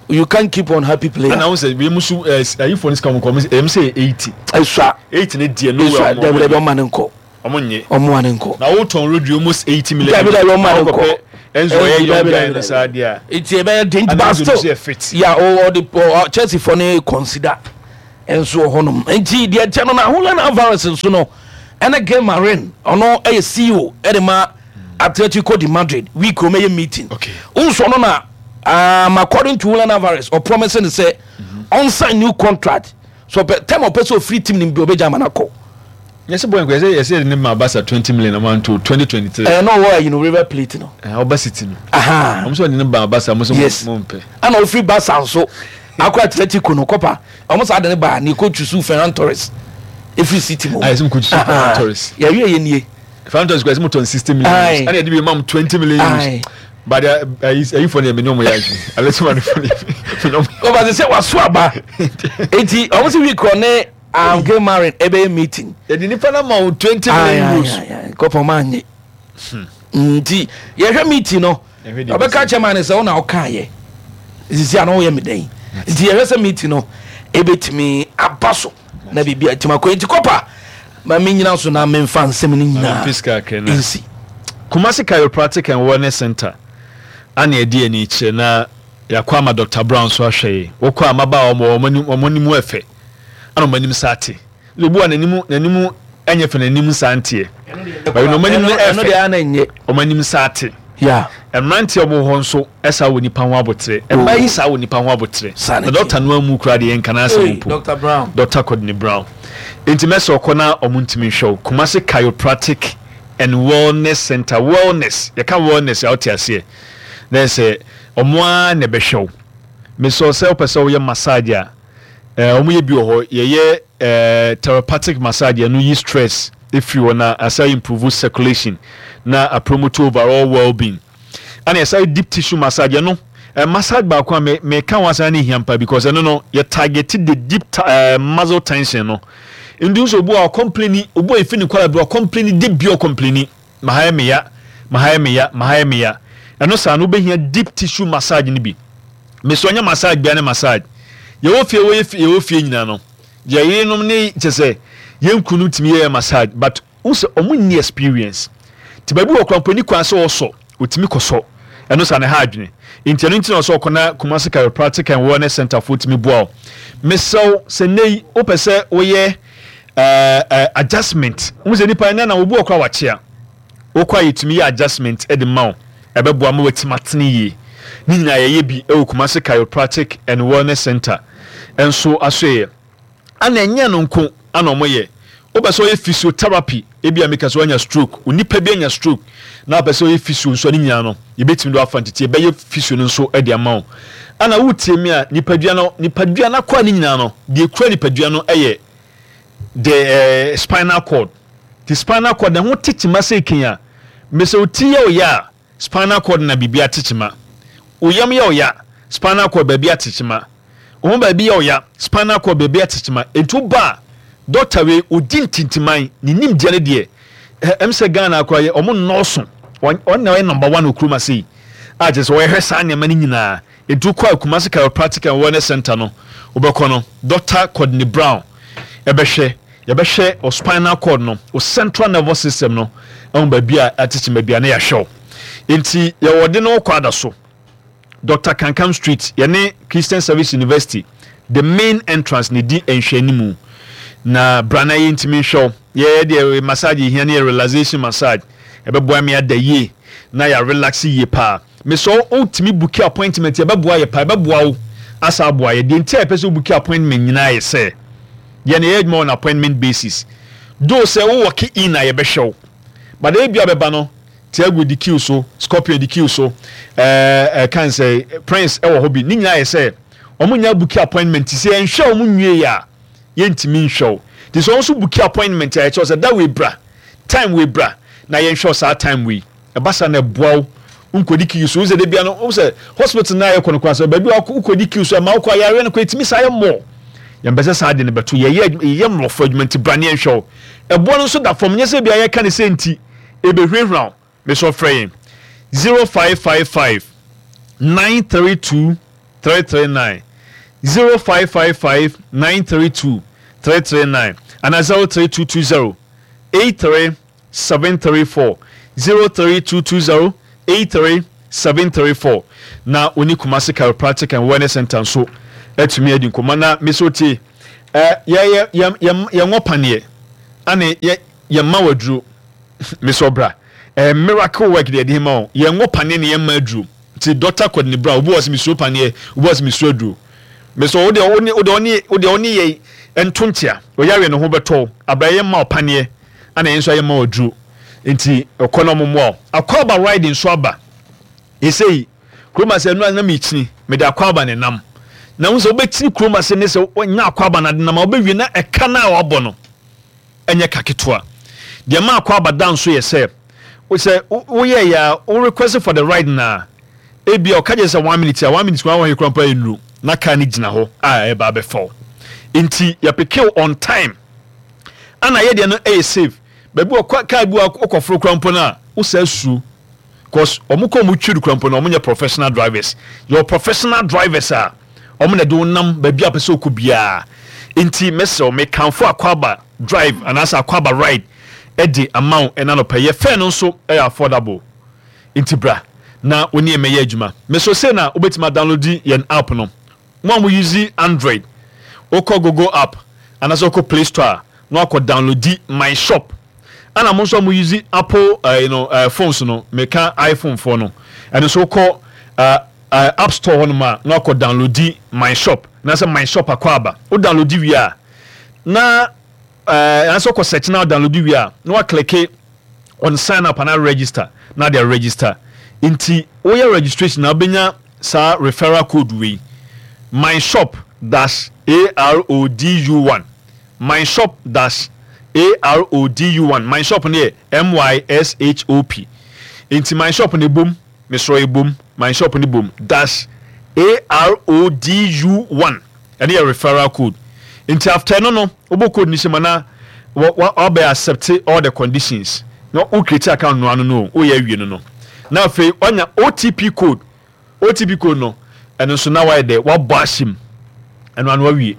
Speaker 1: you can't keep on happy player.
Speaker 2: Ɛna ɔmo sɛ wei mu so ɛɛ ayi fo ne sika ɔmo kɔ ɔmo sɛ ɛmu sɛ eighty.
Speaker 1: Esua
Speaker 2: eighty ne deɛ no
Speaker 1: wɛ ɔmo dɛbi dɛbi ɔmo ne nkɔ.
Speaker 2: Ɔmo nye.
Speaker 1: Ɔmo ne nkɔ.
Speaker 2: Na o tɔn Rodri almost eighty million.
Speaker 1: Dɛbi dɛbi ɔmo ne nkɔ.
Speaker 2: Enzo ɔyɛ young guy no saa deɛ.
Speaker 1: Eti ɛbɛyɛ den ba still. Ya o ɔde ɔ Chelsea fo ne consider nso wɔ hɔnom nti deɛ kyɛ no na Julian Alvarez nso no ɛne Gil Marin ɔno ɛyɛ C E O ɛde ma Atletico de Madrid week ɔmo ɛyɛ meeting. Nso no na um, according to Julian Alvarez or promising sɛ ɔn sign new contract so ɔpɛ time ɔpɛ sɛ ofiri team nim bi ɔbɛgya ama n'akɔ.
Speaker 2: Yɛsɛ bɔ nkɔ yɛsɛ yɛsɛ ne ma Barca twenty million ɔmo anto twenty twenty three.
Speaker 1: Ɛɛ n'ɔwɔ ayi no River Plate no.
Speaker 2: Ɛɛ ɔba City no. Ɔmo sɛ ɔde ne ba Barca ɔmo sɛ mo mpɛ.
Speaker 1: Ɛna ofiri Barca nso akɔ Atletico no kɔpa ɔmo sɛ ade ne ba ne ko tusu Ferran Torres efiri City mu.
Speaker 2: Ayɛ sɛ mo ko tusu Ferran Torres.
Speaker 1: Yɛwie yɛ nie.
Speaker 2: Ferran Torres kɔ yɛsɛ mo tɔn sixty million euros ɛna yɛde bi ma mo twenty million euros. But ayi ayi fɔ ne yɛ mɛ ne ɔmo yɛ adwene alɛ sɛ ma ne fɔ ne yɛ mɛ ne ɔmo.
Speaker 1: Ɔba sɛ waso aba eti ɔmo sɛ week ɔne Gil Marin ɛbɛyɛ meeting.
Speaker 2: Yɛde nipa na ma wo twenty million euros.
Speaker 1: Kɔpɔ ɔmo anye. Nti yɛhwɛ meeting no, ɔbɛka kyɛ ma ne sɛ wo na wokaayɛ sisi a na woyɛ me dɛn. Nti yɛhwɛ sɛ meeting no ɛbɛtumi aba so na biribi atumi akɔ. Nti kɔpa ma menyina so na memfa nsɛm no nyinaa nsi.
Speaker 2: Kumasi Chiropractic and Wellness Center ana ɛdi ani kyerɛ na yɛakɔ ama Doctor Brown so ahwɛ yi. Wokɔ a, mmabaawa wɔn wɔn anim ɛfɛ ana wɔn anim sa ate. Obi wa n'anim n'anim ɛnyɛ fɛ, n'anim sa nteɛ, baabi na wɔn anim no ɛfɛ, wɔn anim sa ate. Mmeranteɛ a wɔwɔ hɔ nso ɛsa wɔ nipa ho abotire, mmaa yi saa wɔ nipa ho abotire na dɔkta no amu kura deɛ nka n'asɛm mpo.
Speaker 1: Doctor Brown.
Speaker 2: Doctor Courtney Brown. Nti mɛsɛ ɔkɔ na ɔmo ntumi nhwɛ wo. Kumasi Chiropractic and Wellness Center. Wellness, yɛka wellness a, wote aseɛ na sɛ ɔmo ara na ɛbɛhwɛ wo. Mesɛ sɛ wopɛ sɛ woyɛ massage a, ɛɛ ɔmo yɛ bi wɔ hɔ. Yɛyɛ ɛɛ therapeutic massage, ɛno yi stress efiri hɔ na asa improve circulation na a promote overall well-being. Ɛna yɛsa deep tissue massage. Ɛno ɛ massage baako a me meka ho asan ne hia mpa because ɛno no yɛ target the deep uh, muscle tension no. Nti nso obi a ɔcomplaini, obi a efi ne kwala bi ɔcomplaini de bi, ɔcomplaini mahayɛ meya, mahayɛ meya, mahayɛ meya, ɛno saa no wobɛhia deep tissue massage no bi. Mesɛ ɔnyɛ massage bia ne massage yɛwɔ fie, wɔyɛ fie, yɛwɔ fie nyinaa no, yɛ yerenom ne kyɛ sɛ yɛn kunu tumi yɛ massage, but n sɛ ɔmo nni experience. Nti baabi wɔ kora mpo kwan sɛ ɔsɔ otumi kɔsɔ, ɛno sa ne ha adwene. Nti ɛno nti na ɔsɛ ɔkɔ na Kumasi Chiropractic and Wellness Center fo tumi boa wo. Mesɛw sɛ nne yi wopɛ sɛ woyɛ ɛɛ ɛɛ adjustment n sɛ nipa ɛnɛ na obi wɔ kora wakyea, wokɔ a yɛtumi yɛ adjustment ɛde ma wo, ɛbɛboa ma watumi atene yie. Ne nyinaa yɛyɛ bi ɛwɔ Kumasi Chiropractic and Wellness Center. Ɛnso aso yɛ ana ɛnyɛ no nko ana ɔmo yɛ. Wopɛ sɛ ɔyɛ physiotherapy, ebi a meka sɛ wanya stroke, onipa bi anya stroke na wopɛ sɛ ɔyɛ physio nso, ne nyinaa no yɛbɛtumi de wafa ntete yɛbɛyɛ physio no nso de ama wo. Ana wotie mi a, nipadua no nipadua no akɔ a ne nyinaa no deɛ ekura nipadua no yɛ the uh, spinal cord. The spinal cord na ho tekyima sɛ eken a mesɛ oti yɛ ɔyɛ a, spinal cord na biribi atekyima. Oyam yɛ ɔyɛ, spinal cord baabi atekyima. Ohun baabi yɛ ɔya, spinal cord baabi atekyima. Etu ba a, doctor wei odi ntintiman ne nimdeɛ no deɛ, ɛm sɛ Ghana akora yɛ ɔmo nnɔɔso. Ɔn na ɔyɛ number one wɔ kurom ase yi a kyerɛ sɛ ɔyɛhwɛ saa nneɛma no nyinaa. Etu kɔ a, Kumasi Chiropractic and Wellness Center no, wobɛkɔ no, Doctor Courtney Brown ɛbɛhwɛ. Yɛbɛhwɛ o spinal cord no, o central nervous system no, ɛho baabi a atekyima baabi a ne yɛahwɛ o. Nti yɛwɔ de no kɔ ada so, Doctor Kankam Street, yɛne Christian Service University, the main entrance ne di nhwɛnimu. Na brana yɛ ntumi nhwɛ wo. Yɛyɛ deɛ massage yɛhia ne yɛ relaxation massage, ɛbɛboa me ada yie na yɛ relax yie paa. Mesɛ wotumi book appointment, yɛbɛboa yɛ paa, ɛbɛboa wo asa aboa yɛ. Deɛ nti a yɛpɛ sɛ wo book appointment nyinaa yɛ sɛ yɛn yɛ adwuma on appointment basis. Though sɛ wo walk in a yɛbɛhwɛ wo, but ebi a bɛba no, Tiago di queue so, Scorpion di queue so, ɛɛ ɛɛ kan sɛ Prince ɛwɔ hɔ bi. Ne nyinaa yɛ sɛ wɔn nyinaa book appointment sɛ yɛnhwɛ wɔn nwie yɛ a, yɛntumi nhwɛ wo. Nti sɛ wɔn nso book appointment a, yɛkyerɛ sɛ da wei bra, time wei bra na yɛnhwɛ wo saa time wei. Ɛba saa na ɛboa wo nkɔdi queue so. Wosɛ de bia no wosɛ hospital na yɛkɔ no kora sɛ baabi a wokɔdi queue so ɛma wokɔ ayareɛ no kɔ ɛtumi saa yɛ mmɔ. Yɛmpɛ sɛ saa de no bɛto yɛyɛ yɛyɛ mmorɔfo adwuma. Nti bra ne yɛnhwɛ wo. Ɛboɔ no nso da fam, nyɛ sɛ bia yɛka ne sɛ nti ɛbɛhurahura wo. Mesɛ frɛ yɛn zero five five five nine three two three three nine, zero five five five nine three two three three nine, ana zero three two two zero eight three seven three four, zero three two two zero eight three seven three four. Na oni Kumasi Chiropractic and Wellness Center nso atumi adi nkɔmmɔ. Na mesɛ tie, ɛ yɛ yɛ yɛ yɛn paneɛ ane yɛ yɛn ma waduro. Mesɛ ɔbra ɛ miracle work deɛ ɛde ma wo. Yɛn wɔ paneɛ ne yɛn ma aduro. Nti Doctor Courtney Brown, obi wɔ sɛ mesuro paneɛ, obi wɔ sɛ mesuro aduro, mesɛ wo deɛ wo ne wo deɛ ɔne wo deɛ ɔne yɛ nto nkyea ɔyare ne ho bɛtɔ abra. Yɛn ma ɔpaneɛ ana yɛn nso ayɛ ma waduro. Nti ɛkɔ na ɔmo mmoa wo. Akɔaba ride nso aba esei kurom ase. Ɛnu anam ekyini mede akɔaba ne nam na ho sɛ wobɛkyini kurom ase ne sɛ wɔnya akɔaba na de nam a wobɛwie na ɛka na a wabɔ no ɛnyɛ ka ketewa. Deɛ ma akɔaba da nso yɛ sɛ sɛ woyɛ yɛ a, wo request for the ride na ebi a ɔka gye sɛ one minute a, one minute kwan wɔn kura mpo ayɛ nuru na car no gyina hɔ a ɛba abɛfa wo. Nti yɛpick on time ana yɛ deɛ no ɛyɛ safe. Baabi wɔ kaa bi wɔ wokɔforo kora mpo no a, wosaa suro, cause ɔmo kɔ ɔmo twiri kora mpo no, ɔmo nyɛ professional drivers. Yɛwɔ professional drivers a ɔmo na de wo nam baabi a pɛ sɛ wokɔ biara. Nti mɛsrɛ wo, mekamfo Akwaaba Drive anaasɛ Akwaaba Ride ɛde ama wo ɛna nɔpɛ. Yɛ fare no nso ɛyɛ affordable, nti bra na wo ne yɛn mɛyɛ adwuma. Meso sei na wobɛtumi adownload yɛn app no. Mo a mo use Android, wokɔ Google app anaasɛ wokɔ Play Store a, na wakɔ download My Shop. Ɛna mo nso a mo use Apple uh, you know, uh, phones no, meka iPhone foɔ no, ɛno nso wokɔ uh, uh, App Store hɔnom a, na wakɔ download My Shop anaasɛ My Shop Akwaaba. Wo download wie a, na uh, anaasɛ wokɔ search na download wie a, na waclick on sign up anaa register na de register. Nti woyɛ registration na wobɛnya saa referral code wei, my shop dash A R O D U one, my shop dash A R O D U one. My Shop no yɛ M Y S H O P, nti My Shop no ebom, mesrɛ, ebom, My Shop no bom dash A R O D U one. Ɛno yɛ referral code. Nti after no no wobɔ code no hyɛ mu na wabɛ accept all the conditions na wo create account no ano no, woyɛ awie no no na afei wanya O T P code. O T P code no, ɛno nso na wayɛ dɛ wabɔ ahyɛ mu, ɛno ano awie,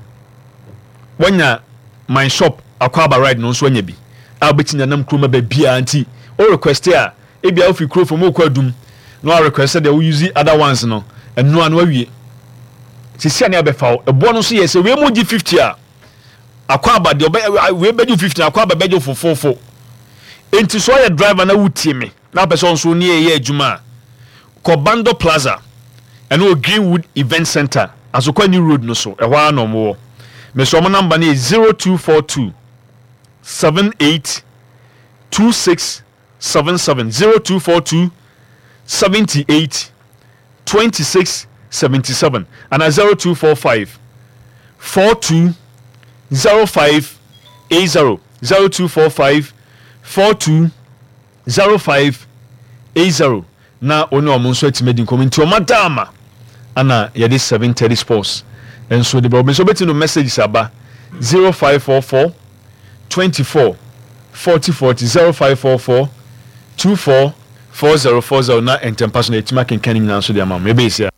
Speaker 2: wanya My Shop Akwaaba Ride no nso anya bi a wobɛtumi anam kurom baabiara. Nti o request a, ebia wofiri kuro fam wokɔ Adum na wa request sɛ deɛ wo use other ones no, ɛno ano awie. Sisi a ne abɛfa wo ɛboɔ no nso yɛ sɛ wei mu gye fifty a, Akwaaba deɛ ɔbɛ wei bɛgye fifty na Akwaaba bɛgye fofofo. Nti so ɔyɛ driver na wotie me na apɛ sɛ ɔnso ne yɛ adwuma a, kɔ Bando Plaza, ɛno wɔ Greenwood Event Center, Asokwa New Road no so, ɛhɔ ara na ɔmo wɔ. Mesɛ ɔmo number no yɛ zero two four two seven eight two six seven seven, zero two four two seventy eight twenty six seventy seven, ana zero two four five four two zero five eight zero, zero two four five four two zero five eight zero, na wɔne ɔmo nso atumi adi nkɔmɔ. Nti ɔmo ada ama ana yɛde seven thirty Sports nso de bɛ ɔmo nso bɛtumi no messages aba zero five four four twenty four forty forty, zero five four four two four four zero four zero, na ntɛmpa so na yɛtumi akenkan ne nyinaa nso de ama mo. Yɛbɛyɛ a.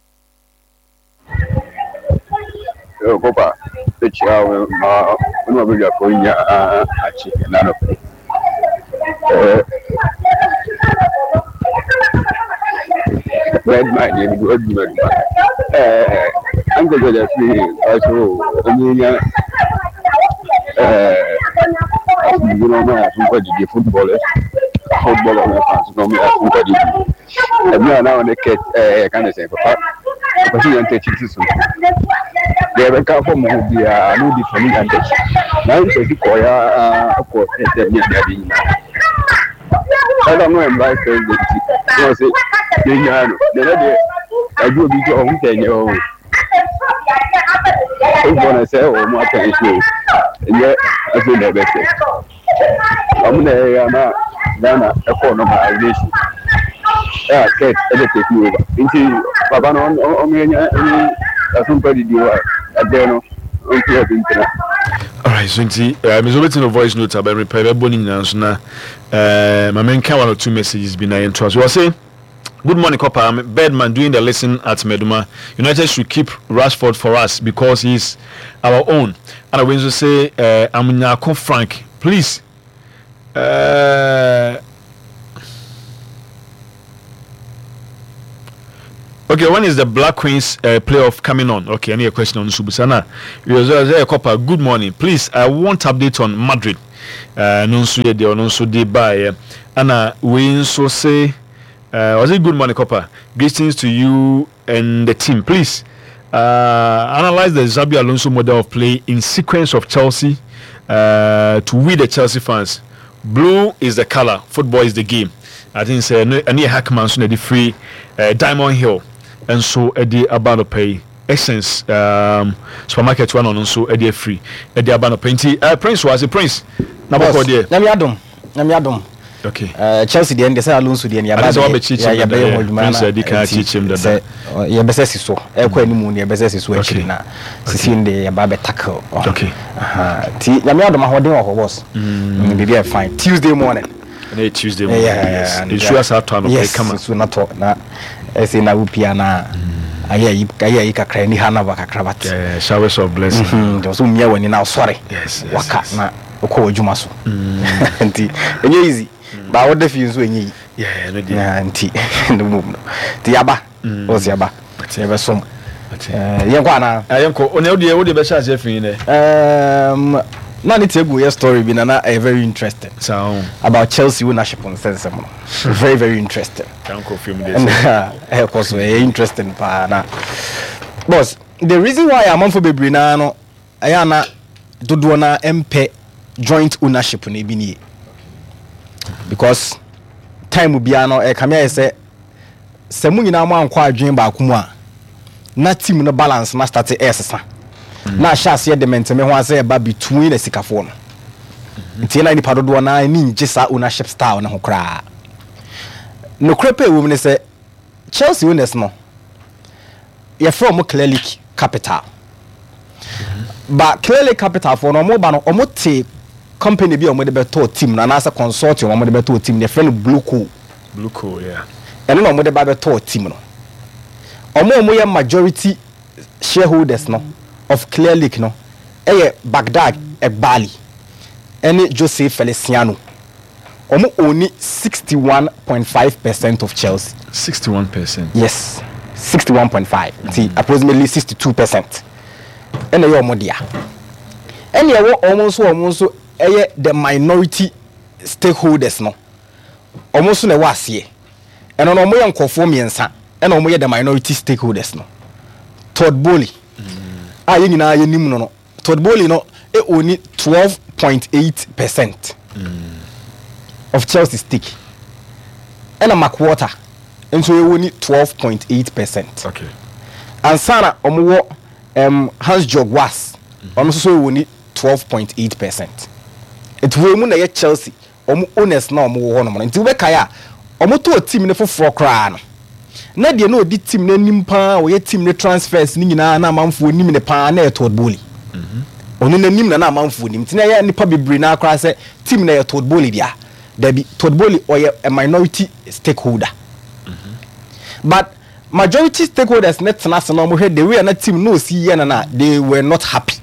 Speaker 3: Kopa ekyia wo ma wo ne wabadwafoɔ nyinaa akye ɛna anɔpɛ. Ɛɛ Redman deɛ mede adwuma adwuma. Ɛɛ Uncle George afiri ɔso ɔmo nya ɛɛ asomdwe na ɔmo yɛ asomkɔ didi footballers, football ɔmo fans na ɔmo yɛ asomkɔ didi. Ɛbi a na ɔne kɛt ɛɛ ka ne sɛn papa papa si Nyantakyi ti so deɛ ɛbɛka fɔ mo ho biara na odi fam Nyantakyi na Nyantakyi kɔɔ ya kɔ ɛsɛ ne ade ade nyinaa ɛna no yɛ vice president ti na ɔsɛ yɛnyaa no na ɛnɛ deɛ ɛgye obi sɛ ɔho sɛ ɛnyɛ ɔho football na sɛ wɔn atɛn so ɛnyɛ afei na ɛbɛsɛ ɔmo na ɛyɛ ama Ghana ɛkɔɔ normalization a Kurt ɛbɛ take over. Nti papa no ɔmo yɛ nya ɛne asompa didi hɔ a ɛbɛn no ɔnti ɛbi ntena.
Speaker 2: Alright, so nti uh, me so wobɛtumi no voice note aba mepɛ bɛbɔ ne nyinaa nso na uh, ma menka one or two messages bi na yɛntoa so. Wɔ "Good morning, Copper. I'm Birdman doing the listen at Meduma. United should keep Rashford for us because he's our own." And I will say, uh, I'm Nyako Frank. Please. Uh, okay, when is the Black Queens uh, playoff coming on? Okay, any question on Subusana? Copper, good morning. Please, I want update on Madrid. Uh, no nso yɛ deɛ ɔno nso de baeɛ ɛna wei nso say uh, was it good morning, Copper. Greetings to you and the team. Please uh, analyze the Xabi Alonso model of play in sequence of Chelsea uh, to we the Chelsea fans. Blue is the color, football is the game. I think sɛ ɛno ɛno yɛ Hackman so na ɛde free uh, Diamond Hill nso ɛde aba no pɛ yi, Essence um, supermarket wa na ɔno nso ɛde afiri ɛde aba no pɛ. Nti uh, Prince wɔ ase, Prince na bɔkɔ deɛ.
Speaker 4: Nyame adom, Nyame adom.
Speaker 2: Okay.
Speaker 4: Uh, Chelsea deɛ, ndɛ sɛ Alonso deɛ no yɛba
Speaker 2: Ade sɛ
Speaker 4: bɛyɛ-
Speaker 2: wabɛkyekyem
Speaker 4: yɛ-
Speaker 2: dada,
Speaker 4: yɛbɛyɛ
Speaker 2: yeah.
Speaker 4: ho adwuma.
Speaker 2: Prince
Speaker 4: Na
Speaker 2: adi kan
Speaker 4: nti
Speaker 2: akyekyem dada.
Speaker 4: sɛ ɔ, yɛbɛsɛ si so ɛkɔ anim ne yɛbɛsɛ si so akyiri
Speaker 2: Okay.
Speaker 4: na sisi no deɛ yɛba bɛ tackle.
Speaker 2: Okay.
Speaker 4: Aha. Nti Nyame adom, ahoɔden wɔ hɔ, boss. Mm, biribi yɛ fine. Tuesday morning.
Speaker 2: Ɛnɛ yɛ Tuesday morning. Yes, nsuo asa atɔ anɔpɛ.
Speaker 4: Yes.
Speaker 2: Kama.
Speaker 4: Nsuo natɔ na ɛsɛ na wopia na ayɛ ayi, ayɛ ayi kakra ni ha na ba kakra, but
Speaker 2: Yeah, showers of blessing.
Speaker 4: Mhm, nti ɔsɛ womia w'ani na wosɔre
Speaker 2: Yes, yes,
Speaker 4: waka
Speaker 2: yes.
Speaker 4: na wokɔ w'adwuma so. Nti ɛnyɛ easy ba, woda fie nso ɛnyɛ yi.
Speaker 2: Yeah, ɛno deɛ.
Speaker 4: Na nti ne mmom no nti yaba wɔsi yaba, yɛbɛsom.
Speaker 2: Ate.
Speaker 4: Eh, yɛnkɔ anaa?
Speaker 2: Ah, yɛnkɔ. Ɔne wodeɛ wodeɛ bɛhyɛ aseɛ fii nɛ.
Speaker 4: Um, na ne tie gu yɛ story bi na na ɛyɛ very interesting
Speaker 2: saa ho
Speaker 4: about Chelsea ownership nsɛnsɛm no, very very interesting.
Speaker 2: Yɛnkɔ fie mu deɛ sɛ
Speaker 4: Ɛna ɛkɔ so, ɛyɛ interesting paa. Na boss, the reason why amanfo bebree naa no ɛyɛ ana dodoɔ na ɛmpɛ joint ownership no ebi nie, because time biara no ɛkame ayɛ sɛ sɛ mo nyinaa mo ankɔ adwene baako mu a, na team no balance na start ɛɛsesa na ahyɛ aseɛ de mɛntɛmɛ ho asɛ ɛba between asikafoɔ no. Nti na nipa dodoɔ naa ani ngye saa ownership style no ho koraa. Nokorɛ pɛ ɛwɔ mu ne sɛ Chelsea owners no, yɛfrɛ ɔmo Clearlake Capital. Ba Clearlake Capital foɔ no, ɔmo ba no, ɔmo te company bi a ɔmo de bɛtɔɔ team no anaasɛ consortium a ɔmo de bɛtɔɔ team no, yɛfrɛ no BlueCo.
Speaker 2: BlueCo, yeah.
Speaker 4: Ɛno na ɔmo de ba bɛtɔɔ team no. Ɔmo a ɔmo yɛ majority shareholders no of Clearlake no ɛyɛ Behdad Eghbali ɛne Jose Feliciano. Ɔmo own sixty one point five percent of Chelsea.
Speaker 2: sixty-one percent?
Speaker 4: Yes, sixty one point five, nti approximately sixty two percent ɛna ɛyɛ ɔmo dea. Ɛna ɛwɔ ɔmo nso, ɔmo nso ɛyɛ the minority stakeholders no, ɔmo nso na ɛwɔ aseɛ. Ɛno no, ɔmo yɛ nkɔfoɔ mmiɛnsa ɛna ɔmo yɛ the minority stakeholders no. Todd Boehly a yɛn nyinaa yɛ nim no no Todd Boehly no e own twelve point eight percent of Chelsea stake, ɛna Mark Walter nso e own twelve point eight percent.
Speaker 2: Okay
Speaker 4: ansa na ɔmo wɔ um, Hans Jorg Wass, ɔno nso so wɔ ni twelve point eight percent. Nti wɔn mu na ɛyɛ Chelsea ɔmo owners na ɔmo wɔ hɔ nom no. Nti wobɛkae a, ɔmo tɔɔ team ne foforɔ koraa no, na deɛ na ɔdi team no anim paa, ɔyɛ team ne transfers ne nyinaa na amanfoɔ nim ne paa na ɛyɛ Todd Boehly. Ɔno n'anim na na amanfoɔ nim, nti na ɛyɛ nipa bebree naa koraa sɛ team na ɛyɛ Todd Boehly dea. Dabi, Todd Boehly ɔyɛ a minority stakeholder, but majority stakeholders ne tena ase na wɔn hwɛ the way a na team no osi yɛ no na they were not happy.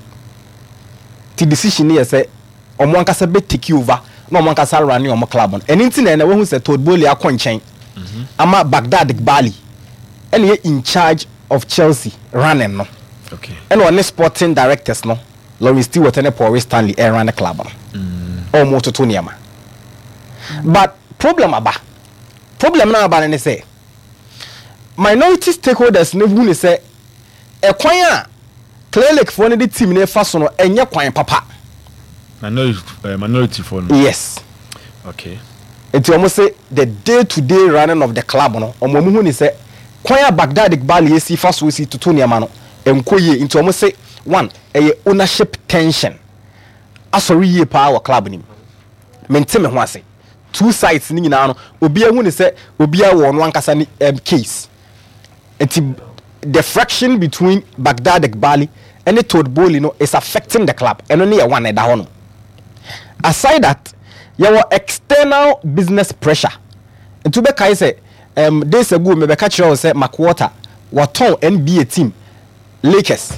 Speaker 4: Ti decision ne yɛ sɛ ɔmo ankasa bɛ take over na ɔmo ankasa run ɔmo club no. Ɛne nti na ɛna wɔn sɛ Todd Boehly akɔ nkyɛn ama Behdad Eghbali ɛna yɛ in charge of Chelsea running no.
Speaker 2: Okay
Speaker 4: ɛna ɔne sporting directors no, Lawrence Stewart ne Paul Stanley, ɛrun ne club no. Ɔmo toto nneɛma, but problem aba. Problem na aba no ne sɛ minority stakeholders ne hu ne sɛ ɛkwan a Clearlake foɔ no de team ne fa so no ɛnyɛ kwan papa.
Speaker 2: Minority uh, minority foɔ no?
Speaker 4: Yes.
Speaker 2: Okay
Speaker 4: nti wɔn sɛ the day to day running of the club no, wɔn wɔn hu ne sɛ kwan a Behdad Eghbali esi fa so esi toto nneɛma no ɛnkɔ yie. Nti wɔn sɛ one, ɛyɛ ownership tension asɔre yie paa wɔ club nim, mente me ho ase. Two sides ne nyinaa no, obiara hu ne sɛ obiara wɔ ɔno ankasa ne um, case. Nti the friction between Behdad Eghbali ɛne Todd Boehly no is affecting the club. Ɛno ne yɛ one ɛda hɔ no. Aside that, yɛwɔ external business pressure. Nti wobɛkae sɛ um, days ago mebɛka kyerɛ wo sɛ Mark Walter watɔn N B A team Lakers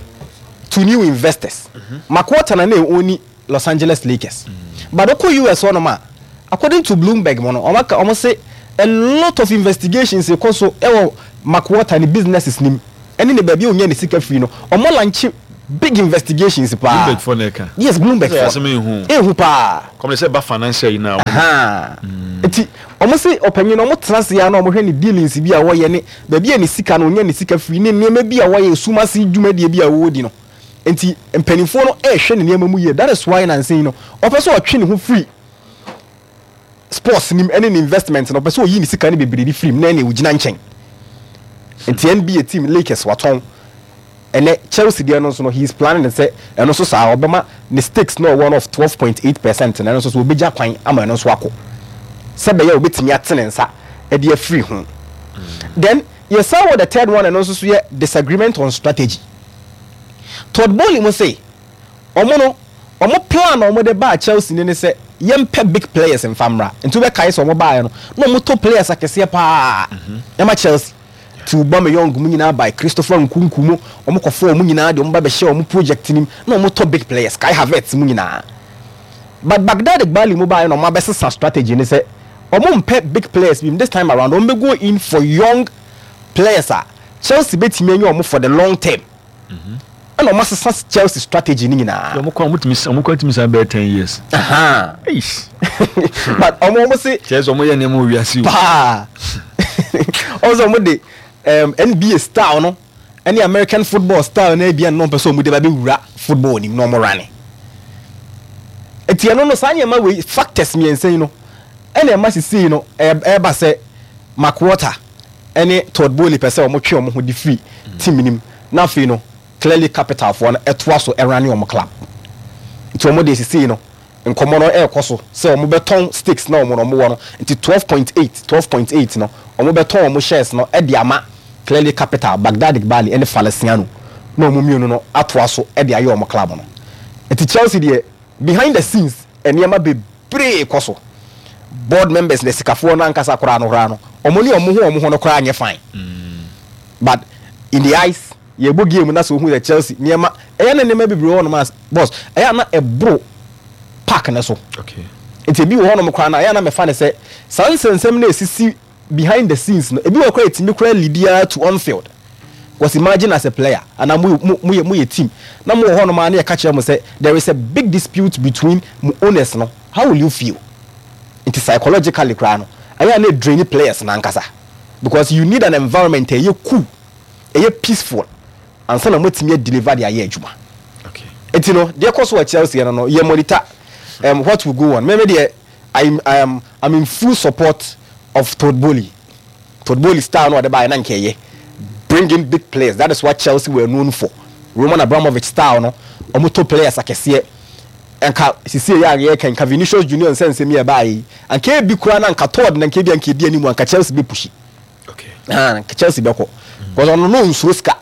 Speaker 4: to new investors. mm -hmm. Mark Walter na na ɛɔni Los Angeles Lakers, mm. but ɔkɔ U S hɔnom a, according to Bloomberg mo no, ɔmo aka, ɔmo se a lot of investigations kɔ so ɛwɔ Mark Walter ne businesses nim ɛne ne baabi a onya ne sika firi no. Ɔmo launch big investigations paa.
Speaker 2: Bloomberg foɔ na ɛka?
Speaker 4: Yes, Bloomberg.
Speaker 2: Sɛ
Speaker 4: fo
Speaker 2: asɛm ehu.
Speaker 4: Ehu paa.
Speaker 2: Kɔmi sɛ ba financial yi na.
Speaker 4: Nti ɔmo se ɔpanyin no, ɔmo tena ase ya na ɔmo hwɛ ne dealings bi a wɔyɛ ne baabi a ne sika no onya ne sika firi ne nneɛma bi a wɔyɛ, sumasi dwumadie bi a wɔwɔ di no. Nti mpanimfoɔ no ɛrehwɛ ne nneɛma mu yie. That is why nansi yi no, ɔpɛ sɛ ɔtwe ne ho firi sports nim ɛne ne investment no. Ɔpɛ sɛ ɔyi ne sika no bebree de firi mu na ɛna ogyina nkyɛn. Nti N B A team Lakers watɔn. Ɛnɛ Chelsea deɛ no nso no, he is planning sɛ ɛno nso saa ɔbɛma ne stakes na ɔwɔ no of twelve point eight percent na ɛno nso so ɔbɛgya kwan ama ɛno nso akɔ. Sɛ bɛyɛ obetumi ate ne nsa ɛde afiri ho. Then yɛsan wɔ the third one, ɛno nso so yɛ disagreement on strategy. Todd Boehly mo se ɔmo no, ɔmo plan a ɔmo de baa Chelsea ne ne sɛ yɛmpɛ big players mfa mmra. Nti wobɛkae sɛ ɔmo baeɛ no na ɔmo to players akɛseɛ paa ɛma Chelsea ti Aubameyang mu nyinaa by Christopher Nkunku mu. Ɔmo kɔfɔ ɔmo nyinaa de ɔmo ba bɛhyɛ ɔmo project nim na ɔmo tɔ big players, Kai Havertz mu nyinaa. But Behdad Eghbali mu baeɛ na ɔmo abɛsesa strategy ne sɛ ɔmo mpɛ big players bi. This time around, ɔmo bɛ go in for young players a Chelsea bɛtumi anya ɔmo for the long term, ɛna ɔmo asesa Chelsea strategy ne nyinaa.
Speaker 2: Ɔmo kɔ, ɔmo tumi, ɔmo kɔ tumi san bɛyɛ ten years.
Speaker 4: Aha.
Speaker 2: Eish.
Speaker 4: But ɔmo ɔmo se
Speaker 2: kyerɛ sɛ ɔmo yɛ nneɛma wɔ wiase o.
Speaker 4: Paa, ɔmo sɛ ɔmo de um, N B A style no ɛne American football style no ebia no ɔmpɛ sɛ ɔmo de ba bɛwura football nim na ɔmo rane. Eti ɛno no, saa nneɛma wei, factors mmiɛnsa yi no, ɛna ɛma sisi no ɛ- ɛɛba sɛ Mark Walter ɛne Todd Boehly pɛ sɛ ɔmo twe ɔmo ho de firi team nim, na afei no Clearlake Capital foɔ no ɛtoa so ɛrane ɔmo club. Nti ɔmo de sisi no nkɔmɔ no ɛɛkɔ so sɛ ɔmo bɛtɔn stakes na ɔmo no ɔmo wɔ no. Nti twelve point eight, twelve point eight no, ɔmo bɛtɔn ɔmo shares no ɛde ama Clearlake Capital, Behdad Eghbali ɛne Feliciano, na ɔmo mmienu no atoa so ɛde ayɛ ɔmo club no. Nti Chelsea deɛ, behind the scenes nneɛma bebree kɔ so. Board members na sikafoɔ no ankasa koraa no koraa no, ɔmo ne ɔmo ho ɔmo ho no koraa nyɛ fine. But in the eyes yɛbɔ game na sɛ ohun sɛ Chelsea nneɛma ɛyɛ na nneɛma bebree wɔ hɔnom a, boss, ɛyɛ na ɛboro park ne so.
Speaker 2: Okay
Speaker 4: nti ebi wɔ hɔnom koraa na ɛyɛ na mɛfa ne sɛ saa nsɛnsɛm na esisi behind the scenes no, ebi wɔ koraa etimi koraa lead to on field, because imagine as a player ana mo mo mo yɛ mo yɛ team na mo wɔ hɔnom a, ne yɛ ka kyerɛ mo sɛ there is a big dispute between mo owners no, how will you feel? Nti psychologically koraa no, ɛyɛ na drain players nankasa, because you need an environment a ɛyɛ cool, ɛyɛ peaceful, ansa na mo tumi deliver de ayɛ adwuma.
Speaker 2: Okay
Speaker 4: eti no, deɛ kɔ so wɔ Chelsea no no yɛ monitor um, what will go on. Mɛmɛ deɛ, I'm, I'm, I'm in full support of Todd Boehly. Todd Boehly style no ɔde ba yɛ na nkɛyɛ bring in big players. That is what Chelsea were known for. Roman Abramovich style no, ɔmo to players akɛseɛ. Nka sisi yɛ a yɛ ka nka Vinicius Junior nsɛnsɛm yɛ baa yi, anka ebi kura na nka Todd na nka ebi anka ebi anim, anka Chelsea bɛ push.
Speaker 2: Okay
Speaker 4: ah, nka Chelsea bɛkɔ, because ɔno no nsuro sika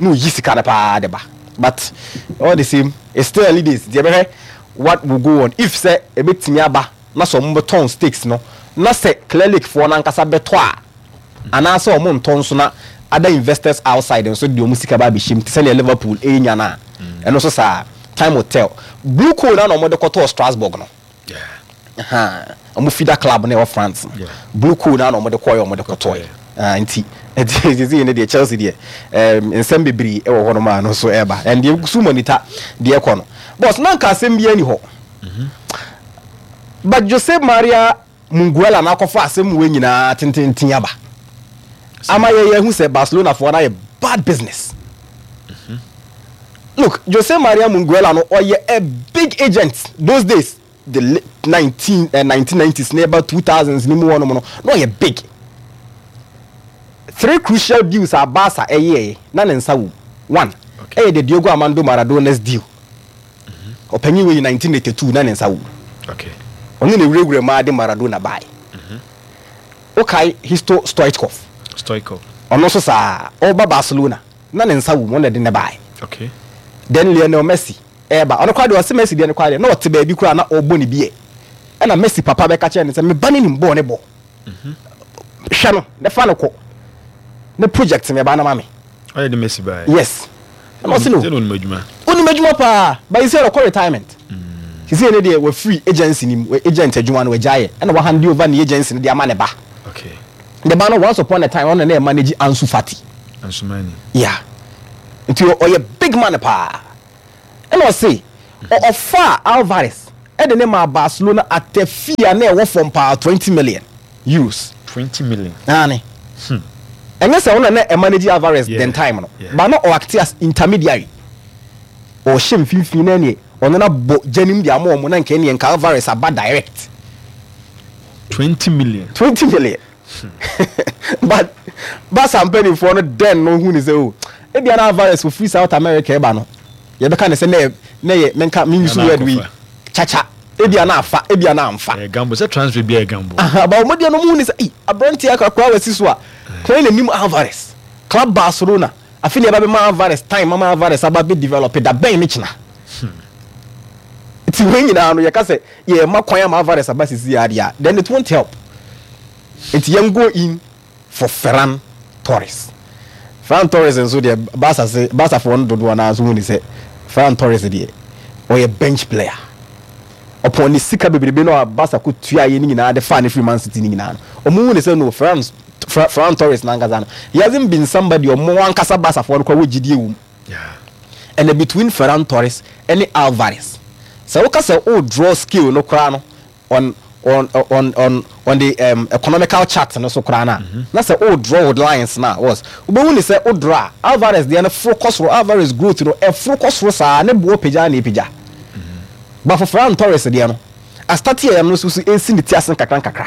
Speaker 4: na oyi sika no paa de ba. But all the same, it's still early days. Deɛ bɛhwɛ what will go on, if sɛ ebɛtumi aba na sɛ ɔmo bɛtɔn stakes no, na sɛ Clearlake foɔ nankasa bɛtɔ a, anaasɛ ɔmo ntɔ nso na other investors outside nso de ɔmo sika ba abɛhyɛ mu te sɛnea Liverpool ɛnya no a, ɛno nso saa, time will tell. BlueCo na na ɔmo de kɔtɔɔ Strasbourg no.
Speaker 2: Yeah
Speaker 4: Aha, ɔmo feeder club na ɛwɔ France no.
Speaker 2: Yeah.
Speaker 4: BlueCo na na ɔmo de kɔɛ, ɔmo de kɔtɔɛ. Ah, nti nti sisi ne deɛ, Chelsea deɛ, ɛɛm nsɛm bebree ɛwɔ hɔ nom a no nso ɛɛba, and deɛ so monitor deɛ ɛkɔ no, boss, na nka asɛm bi ani hɔ, but Jose Maria Minguela na akɔfa asɛm wei nyinaa tententen aba ama yɛ yɛhu sɛ Barcelona foɔ no ayɛ bad business. Look, Jose Maria Minguela no, ɔyɛ a big agent those days, the late nineteen uh, nineteen nineties ne ɛba two thousands ne mu hɔ nom no, na ɔyɛ big. Three crucial deals a Barca ɛyɛɛ na ne nsa wɔ mu. One
Speaker 2: Okay.
Speaker 4: ɛyɛ the Diego Armando Maradona's deal. Ɔpanyin wei, nineteen eighty two na ne nsa wɔ mu.
Speaker 2: Okay
Speaker 4: ɔno na ewurawura mu ade Maradona bae. Okae Hristo Stoichkov?
Speaker 2: Stoichkov.
Speaker 4: Ɔno nso saa, ɔba Barcelona na ne nsa wɔ mu, ɔno na ɛde ne bae.
Speaker 2: Okay
Speaker 4: then Lionel Messi ɛɛba, ɔno koraa deɛ, ɔsɛ Messi deɛ no koraa deɛ, na ɔte baabi koraa na ɔrebɔ ne biɛ, ɛna Messi papa bɛka kyerɛ no sɛ meba ne nim bɔɔ ne bɔ, hwɛ no ne fa no kɔ ne project me ba na ma me.
Speaker 2: Ɔyɛ de Messi bae?
Speaker 4: Yes, ɛna ɔsɛ no.
Speaker 2: Sɛ na onim adwuma.
Speaker 4: Onim adwuma paa, but sɛ ɔkɔ retirement sisi ne deɛ, wafiri agency nim, agent adwuma no wagya yɛ, ɛna wahand over ne agency no de ama ne ba.
Speaker 2: Okay
Speaker 4: ne ba no, once upon a time, ɔno na ɛmanage Ansu Fati.
Speaker 2: Ansumani.
Speaker 4: Yeah, nti ɔyɛ big man paa. Ɛna ɔse ɔ- ɔfaa Alvarez ɛde ne maa Barcelona at a fee a na ɛwɔ fam paa, twenty million euros.
Speaker 2: twenty million.
Speaker 4: Naane ɛnyɛ sɛ ɔno na ɛmanage Alvarez
Speaker 2: Yeah.
Speaker 4: den time no,
Speaker 2: Yeah.
Speaker 4: but na ɔact as intermediary, ɔhyɛ mfimfini na neɛ ɔno na bɔ gyanim de ama ɔmo, na nka neɛ nka Alvarez aba direct.
Speaker 2: twenty million.
Speaker 4: twenty million, but Barca mpanimfoɔ no den no hu ne sɛ o, ebia na Alvarez ofiri South America ɛba no, yɛbɛka ne sɛ ne yɛ ne yɛ menka menuse
Speaker 2: Nana
Speaker 4: word wei
Speaker 2: akɔfa.
Speaker 4: chacha. Ebia na afa, ebia na amfa.
Speaker 2: Ɛyɛ gamble sɛ transfer bi yɛ gamble.
Speaker 4: Aha, ba ɔmo deɛ no, ɔmo hu ne sɛ, "Ei, aberanteɛ akakora wasi so a kwan n'anim Alvarez club Barcelona afi ne ɛba bɛma Alvarez time mama Alvarez aba bɛ develop da bɛn ne kyena." Nti wɔn nyinaa no, yɛka sɛ yɛma kwan ama Alvarez aba sisi yɛ adeɛ a, then it won't help. Nti yɛn go in for Ferran Torres. Ferran Torres nso deɛ, Barca se Barcafoɔ no dodoɔ naa nso hu ne sɛ Ferran Torres deɛ, ɔyɛ bench player. Ɔpɔn ne sika bebrebe no a Barca ko tua yɛ ne nyinaa de fa ne firi Man City ne nyinaa no, ɔmo hu ne sɛ no, Ferran Ferran Torres nankasa no, he hasn't been somebody ɔmo ankasa Barcafoɔ no kora wɔ gyidie wɔ mu. Ɛna between Ferran Torres ɛne Alvarez, sɛ woka sɛ o draw scale no koraa no on on on on on the um, economical chart no so koraa na na sɛ o draw with lines na was wobɛhu ne sɛ o draw a, Alvarez deɛ no foro kɔ soro. Alvarez growth no ɛforo kɔ soro saa, ne boɔ pagya na epagya, but for Ferran Torres deɛ no, astart yɛ no nso so esi ne ti ase nkakra nkakra.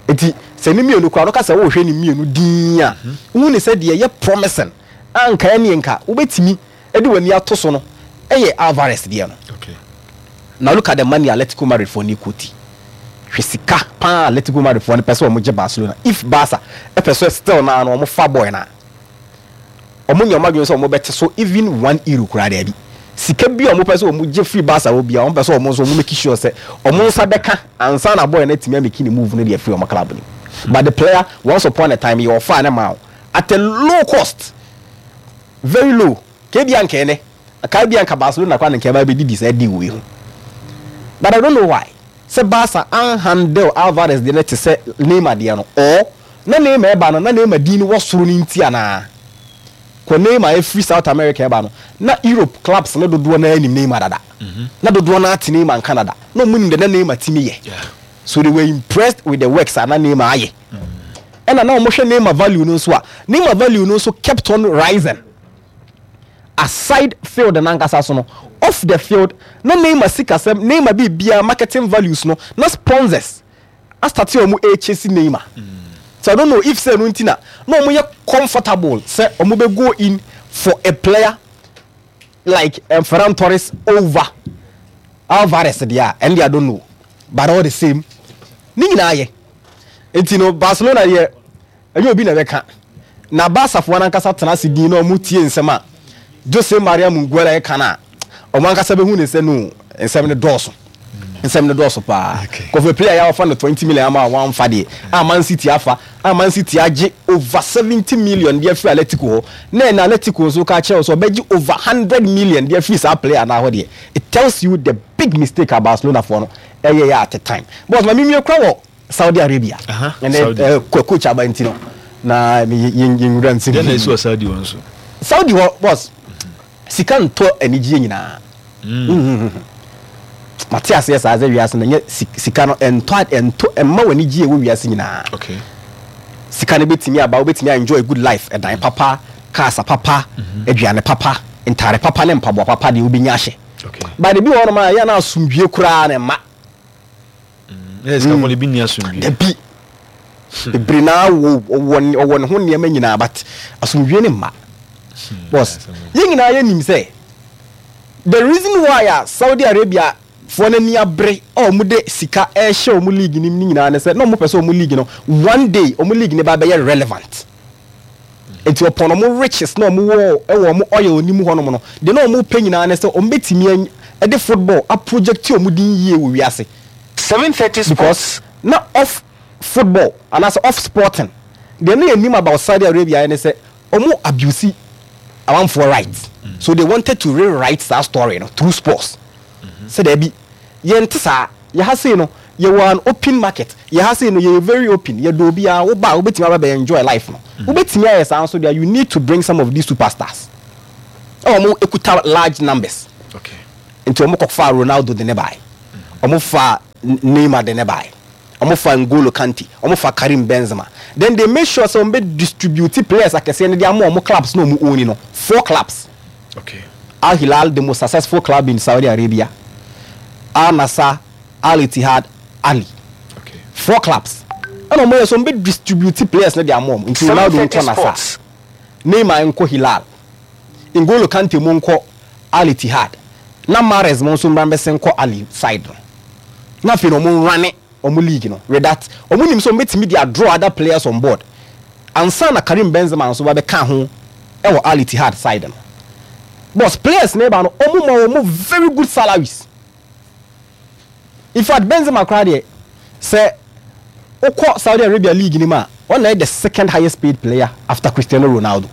Speaker 4: Nti sɛ ne mmienu koraa no ka sɛ wɔrehwɛ ne mmienu din a, wohu ne sɛ deɛ ɛyɛ promising a nka ɛne nka wobɛtumi de w'ani ato so no ɛyɛ Alvarez deɛ no.
Speaker 2: Okay.
Speaker 4: Na look at the money Atletico Madrid foɔ ne koti. Hwɛ sika paa Atletico Madrid foɔ no pɛ sɛ wɔn gye Barcelona. If Barca ɛpɛ sɛ still naa no wɔn fa boy na wɔn nyɛ wɔn adwene sɛ wɔn bɛte so even one euro koraa daabi. Sika bi a wɔn pɛ sɛ wɔn gye free Barca wɔ bia, wɔn pɛ sɛ wɔn nso wɔn make sure sɛ wɔn nsa bɛka ansa na boy no atumi amake ne move no deɛ free wɔn club no. But the player, once upon a time yɛ ɔfa ne ma wo at a low cost, very low. Kebi anka ɛnɛ kaa bi anka Barcelona kora ne nka ɛba bɛdidi saa deal wei ho, but I don't know why sɛ Barca anhandle Alvarez deɛ no te sɛ Neymar deɛ no, or na Neymar ɛba no na Neymar din no wɔ soro no nti anaa kɔ Neymar ɛfiri South America ɛba no, na Europe clubs no dodoɔ no anim Neymar dada, na dodoɔ no ate Neymar nka dada, na ɔmo nim de na Neymar timi yɛ, so they were impressed with the works a na Neymar ayɛ. Ɛna na ɔmo hwɛ Neymar value no nso a, Neymar value no nso kept on rising aside field nankasa so no. Off the field na Neymar sikasɛm, Neymar biribiara, marketing values no, na sponsors astart a ɔmo ɛkyesi Neymar. So I don't know if sɛ no nti na na ɔmo yɛ comfortable sɛ ɔmo bɛ go in for a player like um, Ferran Torres over Alvarez deɛ a, ɛn deɛ I don't know. But all the same, ne nyinaa yɛ. Nti no Barcelona deɛ, ɛnyɛ obi na ɛbɛka na Barcafoɔ no ankasa tena ase din na ɔmo tie nsɛm a Jose Maria Minguela ɛka no a, ɔmo ankasa bɛhu ne sɛ no nsɛm no dɔɔso, nsɛm no dɔɔso paa. Kɔfɛ player yɛ afa no twenty million ama a wɔamfa deɛ a, Man City afa a, Man City agye over seventy million deɛ afiri Atletico hɔ, na ɛna Atletico nso ka kyerɛ wo sɛ ɔbɛgye over hundred million deɛ afiri saa player naa hɔ deɛ, it tells you the big mistake a Barcelona foɔ no ɛyɛ yɛ at the time. But ma mimie kora wɔ Saudi Arabia ɛnɛ ɛ coach aba nti no na yɛn yɛn wura nsɛm.
Speaker 2: Deɛ na esi wɔ Saudi hɔ nso?
Speaker 4: Saudi hɔ, boss, sika ntɔ anigyeɛ nyinaa. Mm. Mate aseɛ saa sɛ wiase no nyɛ sika no ɛntɔ ɛntɔ ɛmma w'ani gye ɛwɔ wiase nyinaa.
Speaker 2: Okay.
Speaker 4: Sika no bɛtumi aba, wobɛtumi enjoy good life, ɛdan papa, cars papa, aduane papa, ntaare papa ne mpaboa papa deɛ wobɛnya ahyɛ.
Speaker 2: Okay.
Speaker 4: But ebi wɔ hɔnom a ɛyɛ na asomdwie koraa na ɛma.
Speaker 2: Ɛyɛ sika fɔlɔ ebi ni asomdwie.
Speaker 4: Dabi, bebree naa wɔ wɔ ɔwɔ ne ho nneɛma nyinaa, but asomdwie ne mma. Boss, yɛn nyinaa yɛnim sɛ the reason why a Saudi Arabia foɔ n'ani abere a wɔn de sika ɛrehyɛ wɔn league nim ne nyinaa ne sɛ na wɔn pɛ sɛ wɔn league no, one day wɔn league ne ba bɛyɛ relevant. Nti ɔpɔn wɔn riches na wɔn wɔ ɛwɔ wɔn oil nim hɔnom no deɛ, na wɔn pɛ nyinaa ne sɛ wɔn bɛtumi ɛde football aproject wɔn din yie wɔ wiase.
Speaker 1: Seven thirty.
Speaker 4: Because na off football anaasɛ off sporting deɛ, ne yɛ nim about Saudi Arabia ne sɛ wɔn abuse amanfoɔ right, so they wanted to rewrite that story no through sports sɛ daabi, yɛn te saa, yɛha sei no yɛwɔ an open market, yɛha sei no yɛyɛ very open, yɛdɔ obiara, woba a wobɛtumi aba bɛ enjoy life no. Wobɛtumi ayɛ saa nso deɛ, you need to bring some of these superstars ɛwɔ wɔn ekuta large numbers.
Speaker 2: Okay.
Speaker 4: Nti wɔn kɔfa Ronaldo de ne bae, wɔn fa Neymar de ne bae, wɔn fa N'Golo Kante, wɔn fa Karim Benzema. Then they make sure sɛ wɔn bɛ distribute players akɛseɛ no de ama wɔn clubs na wɔn own no, four clubs.
Speaker 2: Okay.
Speaker 4: Al Hilal, the most successful club in Saudi Arabia, Al Nassr, Al Ittihad, Ahli.
Speaker 2: Okay.
Speaker 4: Four clubs ɛna wɔn yɛ so wɔn bɛ distribute players no de ama wɔn. Nti Ronaldo nkɔ Nassr, Neymar nkɔ Hilal, N'Golo Kante mu nkɔ Al Ittihad, Na Mahrez mo nso mmra mbɛsen kɔ Ahly side no, na afei na ɔmo run ɔmo league no. With that, ɔmo nim sɛ ɔmo betumi de draw other players on board ansa na Karim Benzema nso ba bɛka ho ɛwɔ Al Ittihad side no. Boss, players na ɛba no, ɔmo ma ɔmo very good salaries. In fact, Benzema koraa deɛ, sɛ wokɔ Saudi Arabia league ni mu a, ɔna yɛ the second highest paid player after Cristiano Ronaldo.